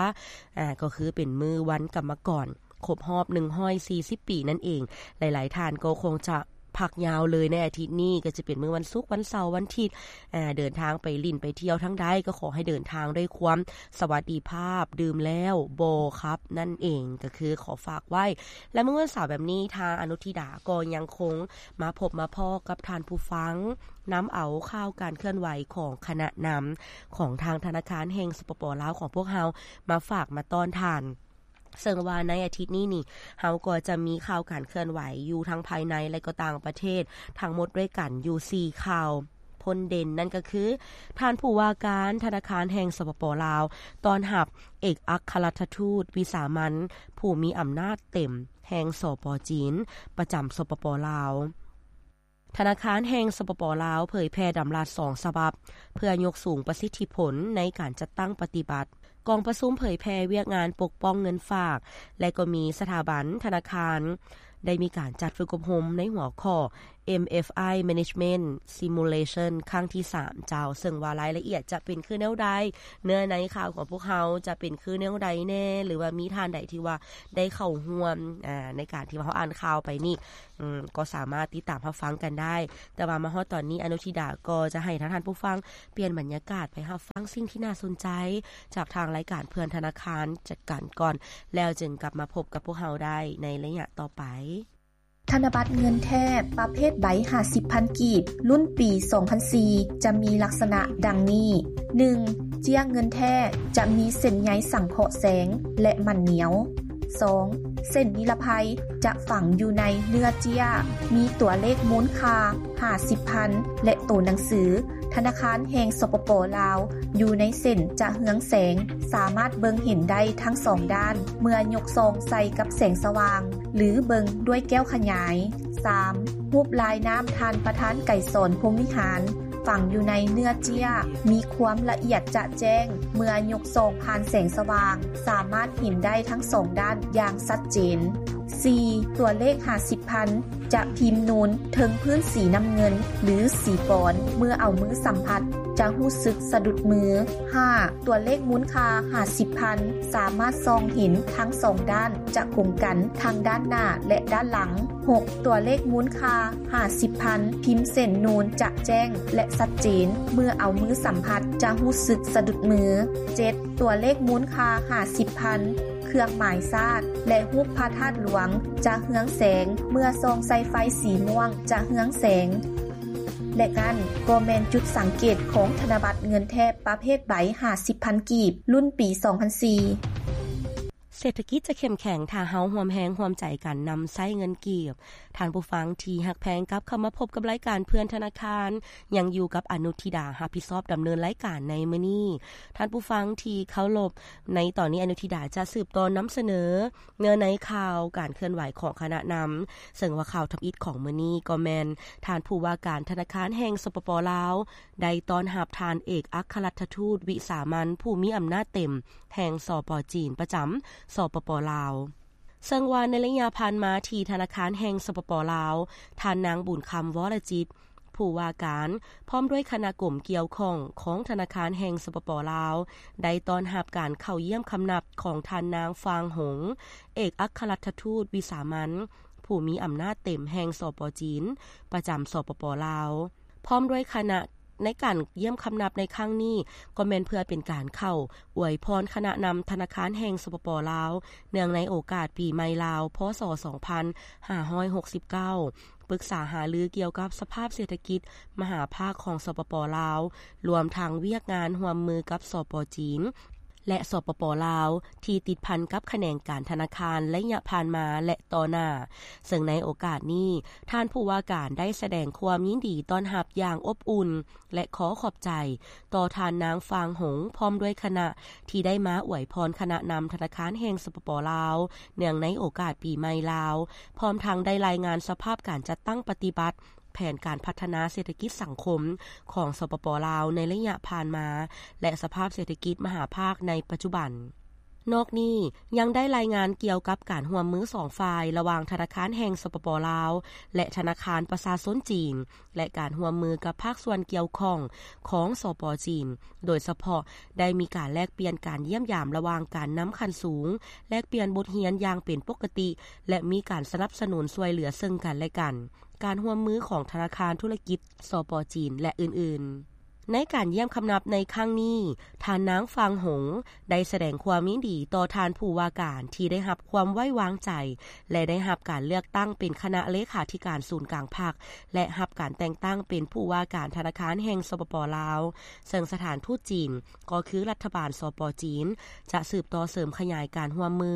ອາ, ກໍຄືເປັນມື້ວັນກຳມະກອນ ຄົບຮອບໜຶ່ງຮ້ອຍສີ່ສິບປີນັ້ນເອງ. ຫຼາຍໆທ່ານກໍຄົງຈະພັກຍາວເລີຍໃນອາທິດນີ້, ກໍຈະເປັນມື້ວັນສຸກ, ວັນເສົາ, ວັນທິດ, ອາ, ເດີນທາງໄປຫຼິ້ນໄປທ່ຽວທາງໃດ ກໍຂໍໃຫ້ເດີນທາງດ້ວຍຄວາມສະຫວັດດີພາບ, ດື່ມແລ້ວບໍ່ຂັບນັ້ນເອງ, ກໍຄືຂໍຝາກໄວ້. ແລະ ມື້ວັນເສົາແບບນີ້ ທາງອະນຸທິດາກໍຍັງຄົງມາພົບມາພໍ້ກັບທ່ານຜູ້ຟັງ, ນຳເອົາຂ່າວການເຄື່ອນໄຫວຂອງຄະນະນຳຂອງທາງທະນາຄານແຫ່ງ ສປປ ລາວ ຂອງພວກເຮົາ ມາຝາກມາຕ້ອນທ່ານ. ເຊິ່ງວ່າໃນອາທິດນີ້ນີ້ ເຮົາກໍຈະມີຂ່າວການເຄື່ອນໄຫວຢູ່ທັງພາຍໃນ ແລະ ກໍຕ່າງປະເທດ ທັງໝົດດ້ວຍກັນຢູ່ສີ່ຂ່າວພົ້ນເດັ່ນ, ນັ້ນກໍຄື ທ່ານຜູ້ວ່າການທະນາຄານແຫ່ງ ສປປ ລາວ ຕ້ອນຮັບເອກອັກຄະລັດຖະທູດວິສາມັນຜູ້ມີອຳນາດເຕັມແຫ່ງ ສປ ຈີນ ປະຈຳ ສປປ ລາວ. ທະນາຄານແຫ່ງ ສປປ ລາວ ເຜີຍແຜ່ດຳລັດສອງສະບັບ ເພື່ອຍົກສູງປະສິດທິຜົນໃນການຈັດຕັ້ງປະຕິບັດ. ກອງປະຊຸມເຜີຍແຜ່ວຽກງານປົກປ້ອງເງິນຝາກ ແລະ ກໍມີສະຖາບັນທະນາຄານ ໄດ້ມີການຈັດຝຶກອົບຮົມໃນຫົວຂໍ້ MFI Management Simulation ຄັ້ງທີສາມ ເຈົ້າ, ເຊິ່ງວ່າລາຍລະອຽດຈະເປັນຄືແນວໃດ, ເນື້ອໃນຂ່າວຂອງພວກເຮົາຈະເປັນຄືແນວໃດແດ່ ຫຼືວ່າມີທ່ານໃດທີ່ວ່າໄດ້ເຂົ້າຮ່ວມ, ອາ, ໃນການທີ່ວ່າເຮົາອ່ານຂ່າວໄປນີ້, ອືມ, ກໍສາມາດຕິດຕາມຮັບຟັງກັນໄດ້. ແຕ່ວ່າມາຮອດຕອນນີ້ ອະນຸທິດາກໍຈະໃຫ້ທາງທ່ານຜູ້ຟັງປ່ຽນບັນຍາກາດໄປຮັບຟັງສິ່ງທີ່ໜ້າສົນໃຈຈາກທາງລາຍການເພື່ອນທະນາຄານຈັດການກ່ອນ, ແລ້ວຈຶ່ງກັບມາພົບກັບພວກເຮົາໄດ້ໃນໄລຍະຕໍ່ໄປ. ທະນະບັດເງິນແທ້ປະເພດໃບຫ້າສິບພັນກີບ ລຸ້ນປີສອງພັນສີ່ ຈະມີລັກສະນະດັ່ງນີ້. ໜຶ່ງ, ເຈ້ຍເງິນແທ້ຈະມີເສັ້ນໃຍສັງເຄາະແສງ ແລະ ມັນໜຽວ. ສອງ, ເສັ້ນນິລະໄພຈະຝັງຢູ່ໃນເນື້ອເຈ້ຍ, ມີຕົວເລກມູນຄ່າ ຫ້າສິບພັນ ແລະ ໂຕໜັງສື ທະນາຄານແຫ່ງ ສປປ ລາວ ຢູ່ໃນເສັ້ນຈະເຮືອງແສງ, ສາມາດເບິ່ງເຫັນໄດ້ທັງສອງດ້ານ ເມື່ອຍົກສ່ອງໃສ່ກັບແສງສະຫວ່າງ ຫຼື ເບິ່ງດ້ວຍແກ້ວຂະຫຍາຍ. ສາມ ຮູບລາຍນາມທ່ານປະທານໄກສອນ ພົມວິຫານ ຝັງຢູ່ໃນເນື້ອເຈ້ຍ ມີຄວາມລະອຽດຈະແຈ້ງ ເມື່ອຍົກສ່ອງຜ່ານແສງສະຫວ່າງ ສາມາດເຫັນໄດ້ທັງສອງດ້ານຢ່າງຊັດເຈນ. ສີ່ ຕົວເລກຫ້າສິບພັນ ຈະພິມນູນເທິງພື້ນສີນ້ຳເງິນ ຫຼື ສີປອນ ເມື່ອເອົາມືສຳຜັດ ຈະຮູ້ສຶກສະດຸດມື. ຫ້າ ຕົວເລກມູນຄ່າຫ້າສິບພັນ ສາມາດສ່ອງເຫັນທັງສອງດ້ານ ຈະກົງກັນທັງດ້ານໜ້າ ແລະ ດ້ານຫຼັງ. ຫົກ ຕົວເລກມູນຄ່າຫ້າສິບພັນ ພິມເສັ້ນນູນຈະແຈ້ງ ແລະ ຊັດເຈນ ເມື່ອເອົາມືສຳຜັດ ຈະຮູ້ສຶກສະດຸດມື. ເຈັດ ຕົວເລກມູນຄ່າຫ້າສິບພັນ ເຄື່ອງໝາຍຊາດ ແລະ ຮູບພະທາດຫຼວງ ຈະເຮືອງແສງ ເມື່ອສ່ອງໃສ່ໄຟສີມ່ວງ ຈະເຮືອງແສງ. ແລະ ນັ້ນກໍແມ່ນຈຸດສັງເກດຂອງທະນະບັດເງິນແທ້ປະເພດໃບຫ້າສິບພັນກີບ ລຸ້ນປີສອງພັນສີ່. ເສດຖະກິດຈະເຂັ້ມແຂງ ຖ້າເຮົາຮ່ວມແຮງຮ່ວມໃຈກັນນຳໃຊ້ເງິນກີບ. ທ່ານຜູ້ຟັງທີ່ຮັກແພງ, ກັບເຂົ້າມາພົບກັບລາຍການເພື່ອນທະນາຄານ, ຍັງຢູ່ກັບອະນຸທິດາ ຮັບຜິດຊອບດຳເນີນລາຍການໃນມື້ນີ້. ທ່ານຜູ້ຟັງທີ່ເຄົາລົບ, ໃນຕອນນີ້ອະນຸທິດາຈະສືບຕໍ່ນຳສະເໜີເນື້ອໃນຂ່າວການເຄື່ອນໄຫວຂອງຄະນະນຳ, ເຊິ່ງວ່າຂ່າວທຳອິດຂອງມື້ນີ້ກໍແມ່ນ ທ່ານຜູ້ວ່າການທະນາຄານແຫ່ງ ສປປ ລາວ ໄດ້ຕ້ອນຮັບທ່ານເອກອັກຄະລັດຖະທູດວິສາມັນຜູ້ມີອຳນາດເຕັມແຫ່ງ ສປ ຈີນ ປະຈຳ ສປປ ລາວ. ເຊິ່ງວ່າໃນໄລຍະຜ່ານມາທີ່ທະນາຄານແຫ່ງ ສປປ ລາວ, ທ່ານນາງ ບຸນຄຳ ວໍລະຈິດ ຜູ້ວ່າການ ພ້ອມດ້ວຍຄະນະກົມກ່ຽວຂ້ອງຂອງທະນາຄານແຫ່ງ ສປປ ລາວ ໄດ້ຕ້ອນຮັບການເຂົ້າຢ້ຽມຄຳນັບຂອງທ່ານນາງ ຟາງ ຫົງ ເອກອັກຄະລັດຖະທູດວິສາມັນ ຜູ້ມີອຳນາດເຕັມແຫ່ງ ສປ ຈີນ ປະຈຳ ສປປ ລາວ ພ້ອມດ້ວຍຄະນະ ໃນການຢ້ຽມຄຳນັບໃນຄັ້ງນີ້ ກໍແມ່ນເພື່ອເປັນການເຂົ້າອວຍພອນຄະນະນຳທະນາຄານແຫ່ງ ສປປ ລາວ ເນື່ອງໃນໂອກາດປີໃໝ່ລາວ ພ.ສ. ສອງພັນຫ້າຮ້ອຍຫົກສິບເກົ້າ ປຶກສາຫາລືກ່ຽວກັບສະພາບເສດຖະກິດມະຫາພາກຂອງ ສປປ ລາວ ລວມທັງວຽກງານຮ່ວມມືກັບ ສປ ຈີນ ແລະ ສປປ ລາວ ທີ່ຕິດພັນກັບຂະແໜງການທະນາຄານໄລຍະຜ່ານມາ ແລະ ຕໍ່ໜ້າ. ເຊິ່ງໃນໂອກາດນີ້, ທ່ານຜູ້ວ່າການໄດ້ສະແດງຄວາມຍິນດີຕ້ອນຮັບຢ່າງອົບອຸ່ນ ແລະ ຂໍຂອບໃຈຕໍ່ທ່ານນາງ ຟາງ ຫົງ ພ້ອມດ້ວຍຄະນະ ທີ່ໄດ້ມາອວຍພອນຄະນະນຳທະນາຄານແຫ່ງ ສປປ ລາວ ເນື່ອງໃນໂອກາດປີໃໝ່ລາວ, ພ້ອມທັງໄດ້ລາຍງານສະພາບການຈັດຕັ້ງປະຕິບັດ ແຜນການພັດທະນາເສດຖະກິດສັງຄົມຂອງ ສປປ ລາວ ໃນໄລຍະຜ່ານມາ ແລະ ສະພາບເສດຖະກິດມະຫາພາກໃນປັດຈຸບັນ. ນອກນີ້, ຍັງໄດ້ລາຍງານກ່ຽວກັບການຮ່ວມມືສອງຝ່າຍ ລະຫວ່າງທະນາຄານແຫ່ງ ສປປ ລາວ ແລະ ທະນາຄານປະຊາຊົນຈີນ ແລະ ການຮ່ວມມືກັບພາກສ່ວນກ່ຽວຂ້ອງຂອງ ສປ ຈີນ, ໂດຍສະເພາະໄດ້ມີການແລກປ່ຽນການຢ້ຽມຢາມລະຫວ່າງການນຳຂັ້ນສູງ, ແລກປ່ຽນບົດຮຽນຢ່າງເປັນປົກກະຕິ ແລະ ມີການສະໜັບສະໜູນຊ່ວຍເຫຼືອເຊິ່ງກັນ ແລະ ກັນ. ການຮ່ວມມືຂອງທະນາຄານທຸລະກິດ ສປ ຈີນ ແລະ ອື່ນໆ. ໃນການຢ້ຽມຄຳນັບໃນຄັ້ງນີ້, ທ່ານນາງ ຟາງ ຫົງ ໄດ້ສະແດງຄວາມຍິນດີຕໍ່ທ່ານຜູ້ວ່າການທີ່ໄດ້ຮັບຄວາມໄວ້ວາງໃຈ ແລະ ໄດ້ຮັບການເລືອກຕັ້ງເປັນຄະນະເລຂາທິການສູນກາງພັກ ແລະ ຮັບການແຕ່ງຕັ້ງເປັນຜູ້ວ່າການທະນາຄານແຫ່ງ ສປປ ລາວ, ເຊິ່ງສະຖານທູດຈີນ ກໍຄືລັດຖະບານ ສປ ຈີນ ຈະສືບຕໍ່ເສີມຂະຫຍາຍການຮ່ວມມື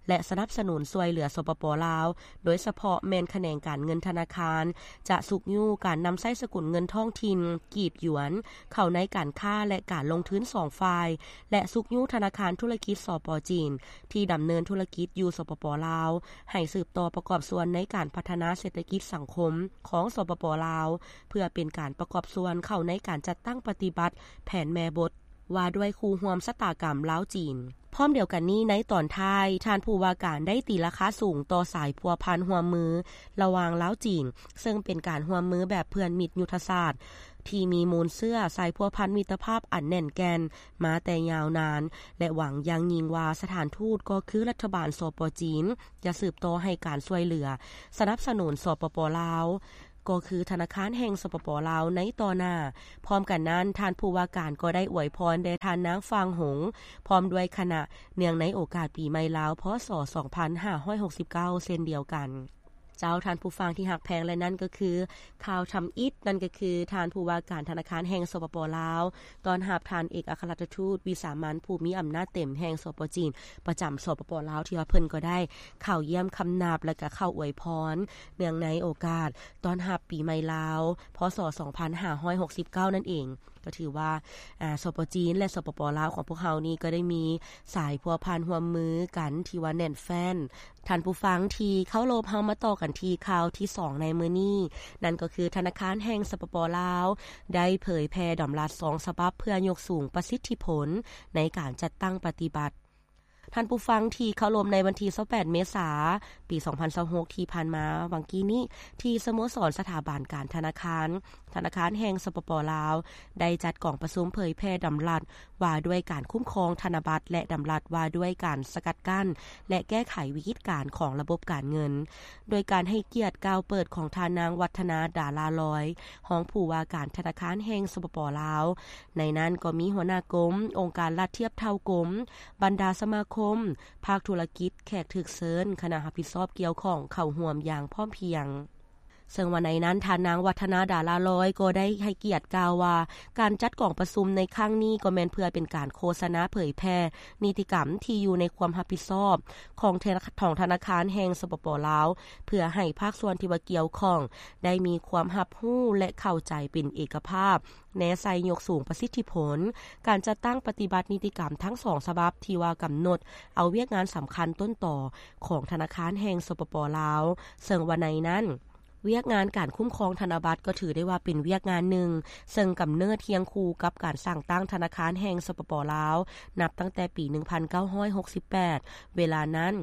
ແລະ ສະໜັບສະໜູນຊ່ວຍເຫຼືອ ສປປ ລາວ, ໂດຍສະເພາະແມ່ນຂະແໜງການເງິນທະນາຄານ ຈະຊຸກຍູ້ການນຳໃຊ້ສະກຸນເງິນທ້ອງຖິ່ນ ກີບຢວນ ເຂົ້າໃນການຄ້າ ແລະ ການລົງທຶນສອງຝ່າຍ ແລະ ຊຸກຍູ້ທະນາຄານທຸລະກິດ ສປ ຈີນ ທີ່ດຳເນີນທຸລະກິດຢູ່ ສປປ ລາວ ໃຫ້ສືບຕໍ່ປະກອບສ່ວນໃນການພັດທະນາເສດຖະກິດສັງຄົມຂອງ ສປປ ລາວ ເພື່ອເປັນການປະກອບສ່ວນເຂົ້າໃນການຈັດຕັ້ງປະຕິບັດແຜນແມ່ບົດ ວ່າດ້ວຍຄູ່ຮ່ວມຊະຕາກຳລາວ-ຈີນ. ພ້ອມດຽວກັນນີ້, ໃນຕອນທ້າຍ, ທ່ານຜູ້ວ່າການໄດ້ຕີລາຄາສູງຕໍ່ສາຍພົວພັນຮ່ວມມືລະຫວ່າງລາວ-ຈີນ, ເຊິ່ງເປັນການຮ່ວມມືແບບເພື່ອນມິດຍຸດທະສາດ ທີ່ມີມູນເຊື້ອສາຍພົວພັນມິດຕະພາບອັນແໜ້ນແກ່ນມາແຕ່ຍາວນານ ແລະ ຫວັງຢ່າງຍິ່ງວ່າສະຖານທູດ ກໍຄືລັດຖະບານ ສປ ຈີນ ຈະສືບຕໍ່ໃຫ້ການຊ່ວຍເຫຼືອສະໜັບສະໜູນ ສປປ ລາວ ກໍຄືທະນາຄານແຫ່ງ ສປປ ລາວ ໃນຕໍ່ໜ້າ. ພ້ອມກັນນັ້ນ, ທ່ານຜູ້ວ່າການກໍໄດ້ອວຍພອນແດ່ທ່ານນາງ ຟາງ ຫົງ ພ້ອມດ້ວຍຄະນະ ເນື່ອງໃນໂອກາດປີໃໝ່ລາວ ພ.ສ. ສອງພັນຫ້າຮ້ອຍຫົກສິບເກົ້າ ເຊັ່ນດຽວກັນ. ເຈົ້າ, ທ່ານຜູ້ຟັງທີ່ຮັກແພງ, ແລະ ນັ້ນກໍຄືຂ່າວທຳອິດ, ນັ້ນກໍຄືທ່ານຜູ້ວ່າການທະນາຄານແຫ່ງ ສປປ ລາວ ຕ້ອນຮັບທ່ານເອກອັກຄະລັດຖະທູດວິສາມັນຜູ້ມີອຳນາດເຕັມແຫ່ງ ສປ ຈີນ ປະຈຳ ສປປ ລາວ ທີ່ວ່າເພິ່ນກໍໄດ້ເຂົ້າຢ້ຽມຄຳນັບ ແລະ ກໍເຂົ້າອວຍພອນ ເນື່ອງໃນໂອກາດຕ້ອນຮັບປີໃໝ່ລາວ ພ.ສ. ສອງພັນຫ້າຮ້ອຍຫົກສິບເກົ້າ ນັ້ນເອງ. ກໍຖືວ່າ ອາ ສປ ຈີນ ແລະ ສປປ ລາວ ຂອງພວກເຮົານີ້ ກໍໄດ້ມີສາຍພົວພັນຮ່ວມມືກັນທີ່ວ່າແໜ້ນແຟ້ນ. ທ່ານຜູ້ຟັງທີ່ເຄົາລົບ, ເຮົາມາຕໍ່ກັນທີ່ຂ່າວທີສອງໃນມື້ນີ້, ນັ້ນກໍຄືທະນາຄານແຫ່ງ ສປປ ລາວ ໄດ້ເຜີຍແຜ່ດຳລັດສອງສະບັບເພື່ອຍົກສູງປະສິດທິຜົນໃນການຈັດຕັ້ງປະຕິບັດ. ທ່ານຜູ້ຟັງທີ່ເຄົາລົບ, ໃນວັນທີຊາວແປດ ເມສາ ປີສອງພັນຊາວຫົກ ທີ່ຜ່ານມາຫວ່າງກີ້ນີ້ ທີ່ສະໂມສອນສະຖາບັນການທະນາຄານ ທະນາຄານແຫ່ງ ສປປ ລາວ ໄດ້ຈັດກອງປະຊຸມເຜີຍແຜ່ດຳລັດວ່າດ້ວຍການຄຸ້ມຄອງທະນະບັດ ແລະ ດຳລັດວ່າດ້ວຍການສະກັດກັ້ນ ແລະ ແກ້ໄຂວິກິດການຂອງລະບົບການເງິນ, ໂດຍການໃຫ້ກຽດກ່າວເປີດຂອງທ່ານນາງ ວັດທະນາ ດາລາລອຍ ຮອງຜູ້ວ່າການທະນາຄານແຫ່ງ ສປປ ລາວ. ໃນນັ້ນກໍມີຫົວໜ້າກົມ, ອົງການລັດທຽບເທົ່າກົມ, ບັນດາສະມາຄົມ, ພາກທຸລະກິດ, ແຂກຖືກເຊີນ, ຄະນະຮັບຜິດຊອບກ່ຽວຂ້ອງເຂົ້າຮ່ວມຢ່າງພ້ອມພຽງ. ເຊິ່ງວ່າໃນນັ້ນ ທ່ານນາງ ວັດທະນາ ດາລາລອຍ ກໍໄດ້ໃຫ້ກຽດກ່າວວ່າ ການຈັດກອງປະຊຸມໃນຄັ້ງນີ້ກໍແມ່ນເພື່ອເປັນການໂຄສະນາເຜີຍແຜ່ນິຕິກຳທີ່ຢູ່ໃນຄວາມຮັບຜິດຊອບຂອງທະນາ ຂອງທະນາຄານແຫ່ງ ສປປ ລາວ ເພື່ອໃຫ້ພາກສ່ວນທີ່ວ່າກ່ຽວຂ້ອງໄດ້ມີຄວາມຮັບຮູ້ ແລະ ເຂົ້າໃຈເປັນເອກະພາບ ແນໃສ່ຍົກສູງປະສິດທິຜົນການຈັດຕັ້ງປະຕິບັດນິຕິກຳທັງສອງສະບັບທີ່ວ່າກຳນົດເອົາວຽກງານສຳຄັນຕົ້ນຕໍຂອງທະນາຄານແຫ່ງ ສປປ ລາວ, ເຊິ່ງວ່າໃນນັ້ນ ວຽກງານການຄຸ້ມຄອງທະນະບັດກໍຖືໄດ້ວ່າເປັນວຽກງານໜຶ່ງ ເຊິ່ງກຳເນີດຄຽງຄູ່ກັບການສ້າງຕັ້ງທະນາຄານແຫ່ງ ສປປ ລາວ ນັບຕັ້ງແຕ່ປີໜຶ່ງພັນເກົ້າຮ້ອຍຫົກສິບແປດ. ເວລານັ້ນ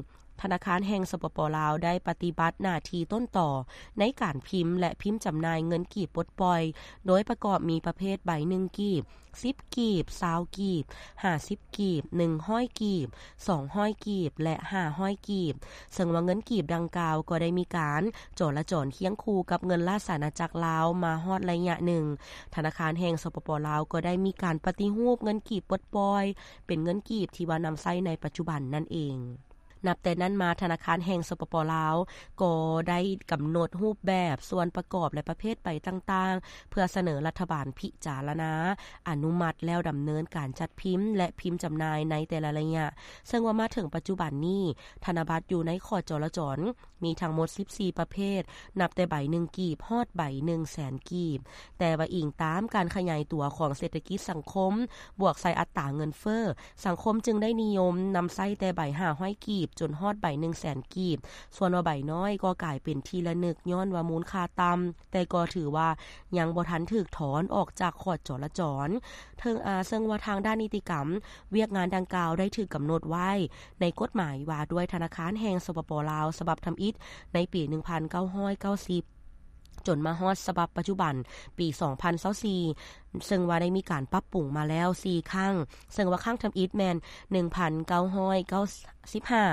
ທະນາຄານແຫ່ງ ສປປ ລາວ ໄດ້ປະຕິບັດໜ້າທີ່ຕົ້ນຕໍໃນການພິມ ແລະ ພິມຈຳໜ່າຍເງິນກີບປົດປ່ອຍ, ໂດຍປະກອບມີປະເພດໃບໜຶ່ງກີບ, ສິບກີບ, ຊາວກີບ, ຫ້າສິບກີບ, ໜຶ່ງຮ້ອຍກີບ, ສອງຮ້ອຍກີບ ແລະ ຫ້າຮ້ອຍກີບ, ເຊິ່ງວ່າເງິນກີບດັ່ງກ່າວກໍໄດ້ມີການຈໍລະຈອນຄຽງຄູ່ກັບເງິນລາຊະອານາຈັກລາວມາຮອດໄລຍະໜຶ່ງ. ທະນາຄານແຫ່ງ ສປປ ລາວ ກໍໄດ້ມີການປະຕິຮູບເງິນກີບປົດປ່ອຍ ເປັນເງິນກີບທີ່ວ່ານຳໃຊ້ໃນປັດຈຸບັນນັ້ນເອງ. ນັບແຕ່ນັ້ນມາ ທະນາຄານແຫ່ງ ສປປ ລາວ ກໍໄດ້ກຳນົດຮູບແບບ, ສ່ວນປະກອບ ແລະ ປະເພດໃບຕ່າງໆ ເພື່ອສະເໜີລັດຖະບານພິຈາລະນາ, ອະນຸມັດ ແລ້ວດຳເນີນການຈັດພິມ ແລະ ພິມຈຳໜ່າຍໃນແຕ່ລະໄລຍະ, ເຊິ່ງວ່າມາເຖິງປັດຈຸບັນນີ້ ທະນະບັດຢູ່ໃນຂອດຈໍລະຈອນ ມີທັງໝົດສິບສີ່ປະເພດ, ນັບແຕ່ໃບໜຶ່ງກີບ ຮອດໃບໜຶ່ງແສນກີບ. ແຕ່ວ່າອີງຕາມການຂະຫຍາຍຕົວຂອງເສດຖະກິດສັງຄົມ ບວກໃສ່ອັດຕາເງິນເຟີ້, ສັງຄົມຈຶ່ງໄດ້ນິຍົມນຳໃຊ້ແຕ່ໃບຫ້າຮ້ອຍກີບ ຈົນຮອດໃບໜຶ່ງແສນກີບ, ສ່ວນວ່າໃບນ້ອຍກໍກາຍເປັນທີ່ລະນຶກ ຍ້ອນວ່າມູນຄ່າຕ່ຳ, ແຕ່ກໍຖືວ່າຍັງບໍ່ທັນຖືກຖອນອອກຈາກຂອດຈໍລະຈອນ. ເຖິງ ອາ ເຊິ່ງວ່າທາງດ້ານນິຕິກຳ ວຽກງານດັ່ງກ່າວໄດ້ຖືກກຳນົດໄວ້ໃນກົດໝາຍວ່າດ້ວຍທະນາຄານແຫ່ງ ສປປ ລາວ ສະບັບທຳອິດ ໃນປີໜຶ່ງພັນເກົ້າຮ້ອຍເກົ້າສິບ ຈົນມາຮອດສະບັບປັດຈຸບັນ ປີສອງພັນຊາວສີ່ ເຊິ່ງວ່າໄດ້ມີການປັບປຸງມາແລ້ວສີ່ຄັ້ງ, ເຊິ່ງວ່າຄັ້ງທຳອິດແມ່ນໜຶ່ງພັນເກົ້າຮ້ອຍເກົ້າສິບຫ້າ,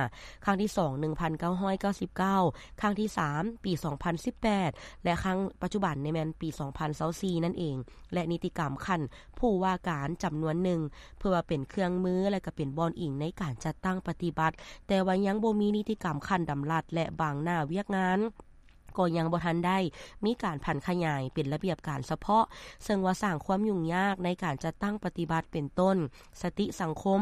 ຄັ້ງທີສອງ ໜຶ່ງພັນເກົ້າຮ້ອຍເກົ້າສິບເກົ້າ, ຄັ້ງທີສາມ ປີສອງພັນສິບແປດ ແລະ ຄັ້ງປັດຈຸບັນນີ້ແມ່ນປີສອງພັນຊາວສີ່ນັ້ນເອງ. ແລະ ນິຕິກຳຂັ້ນຜູ້ວ່າການຈຳນວນໜຶ່ງ ເພື່ອວ່າເປັນເຄື່ອງມື ແລະ ກໍເປັນບ່ອນອີງໃນການຈັດຕັ້ງປະຕິບັດ, ແຕ່ວ່າຍັງບໍ່ມີນິຕິກຳຂັ້ນດຳລັດ ແລະ ບາງໜ້າວຽກງານ ກໍຍັງບໍ່ທັນໄດ້ມີການຜັນຂະຫຍາຍເປັນລະບຽບການສະເພາະ, ເຊິ່ງວ່າສ້າງຄວາມຫຍຸ້ງຍາກໃນການຈັດຕັ້ງປະຕິບັດ ເປັນຕົ້ນ ສະຕິສັງຄົມ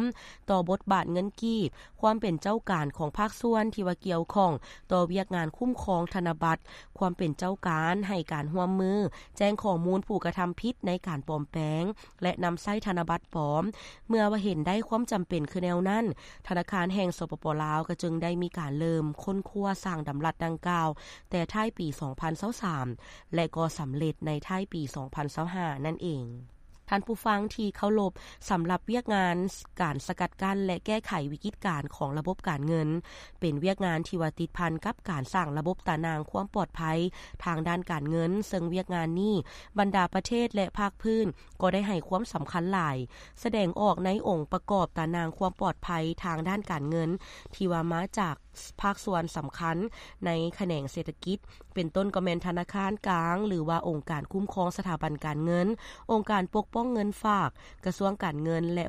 ຕໍ່ບົດບາດເງິນກີບ, ຄວາມເປັນເຈົ້າການຂອງພາກສ່ວນທີ່ວ່າກ່ຽວຂ້ອງຕໍ່ວຽກງານຄຸ້ມຄອງທະນະບັດ, ຄວາມເປັນເຈົ້າການໃຫ້ການຮ່ວມມືແຈ້ງຂໍ້ມູນຜູ້ກະທຳຜິດໃນການປອມແປງ ແລະ ນຳໃຊ້ທະນະບັດປອມ. ເມື່ອວ່າເຫັນໄດ້ຄວາມຈຳເປັນຄືແນວນັ້ນ, ທະນາຄານແຫ່ງ ສປປ ລາວ ກໍຈຶ່ງໄດ້ມີການເລີ່ມຄົ້ນຄວ້າສ້າງດຳລັດດັ່ງກ່າວ ແຕ່ທ້າຍປີສອງພັນຊາວສາມ ແລະ ກໍສຳເລັດໃນທ້າຍປີສອງພັນຊາວຫ້ານັ້ນເອງ. ທ່ານຜູ້ຟັງທີ່ເຄົາລົບ, ສຳລັບວຽກງານການສະກັດກັ້ນ ແລະ ແກ້ໄຂວິກິດການຂອງລະບົບການເງິນ ເປັນວຽກງານທີ່ວ່າຕິດພັນກັບການສ້າງລະບົບຕາໜ່າງຄວາມປອດໄພທາງດ້ານການເງິນ, ເຊິ່ງວຽກງານນີ້ບັນດາປະເທດ ແລະ ພາກພື້ນ ກໍໄດ້ໃຫ້ຄວາມສຳຄັນຫຼາຍ, ສະແດງອອກໃນອົງປະກອບຕາໜ່າງຄວາມປອດໄພທາງດ້ານການເງິນ ທີ່ວ່າມາຈາກພາກສ່ວນສຳຄັນໃນຂະແໜງເສດຖະກິດ, ເປັນຕົ້ນກໍແມ່ນທະນາຄານກາງ ຫຼືວ່າອົງການຄຸ້ມຄອງສະຖາບັນການເງິນ, ອົງການປົກປ້ອງເງິນຝາກ, ກະຊວງການເງິນ ແລະ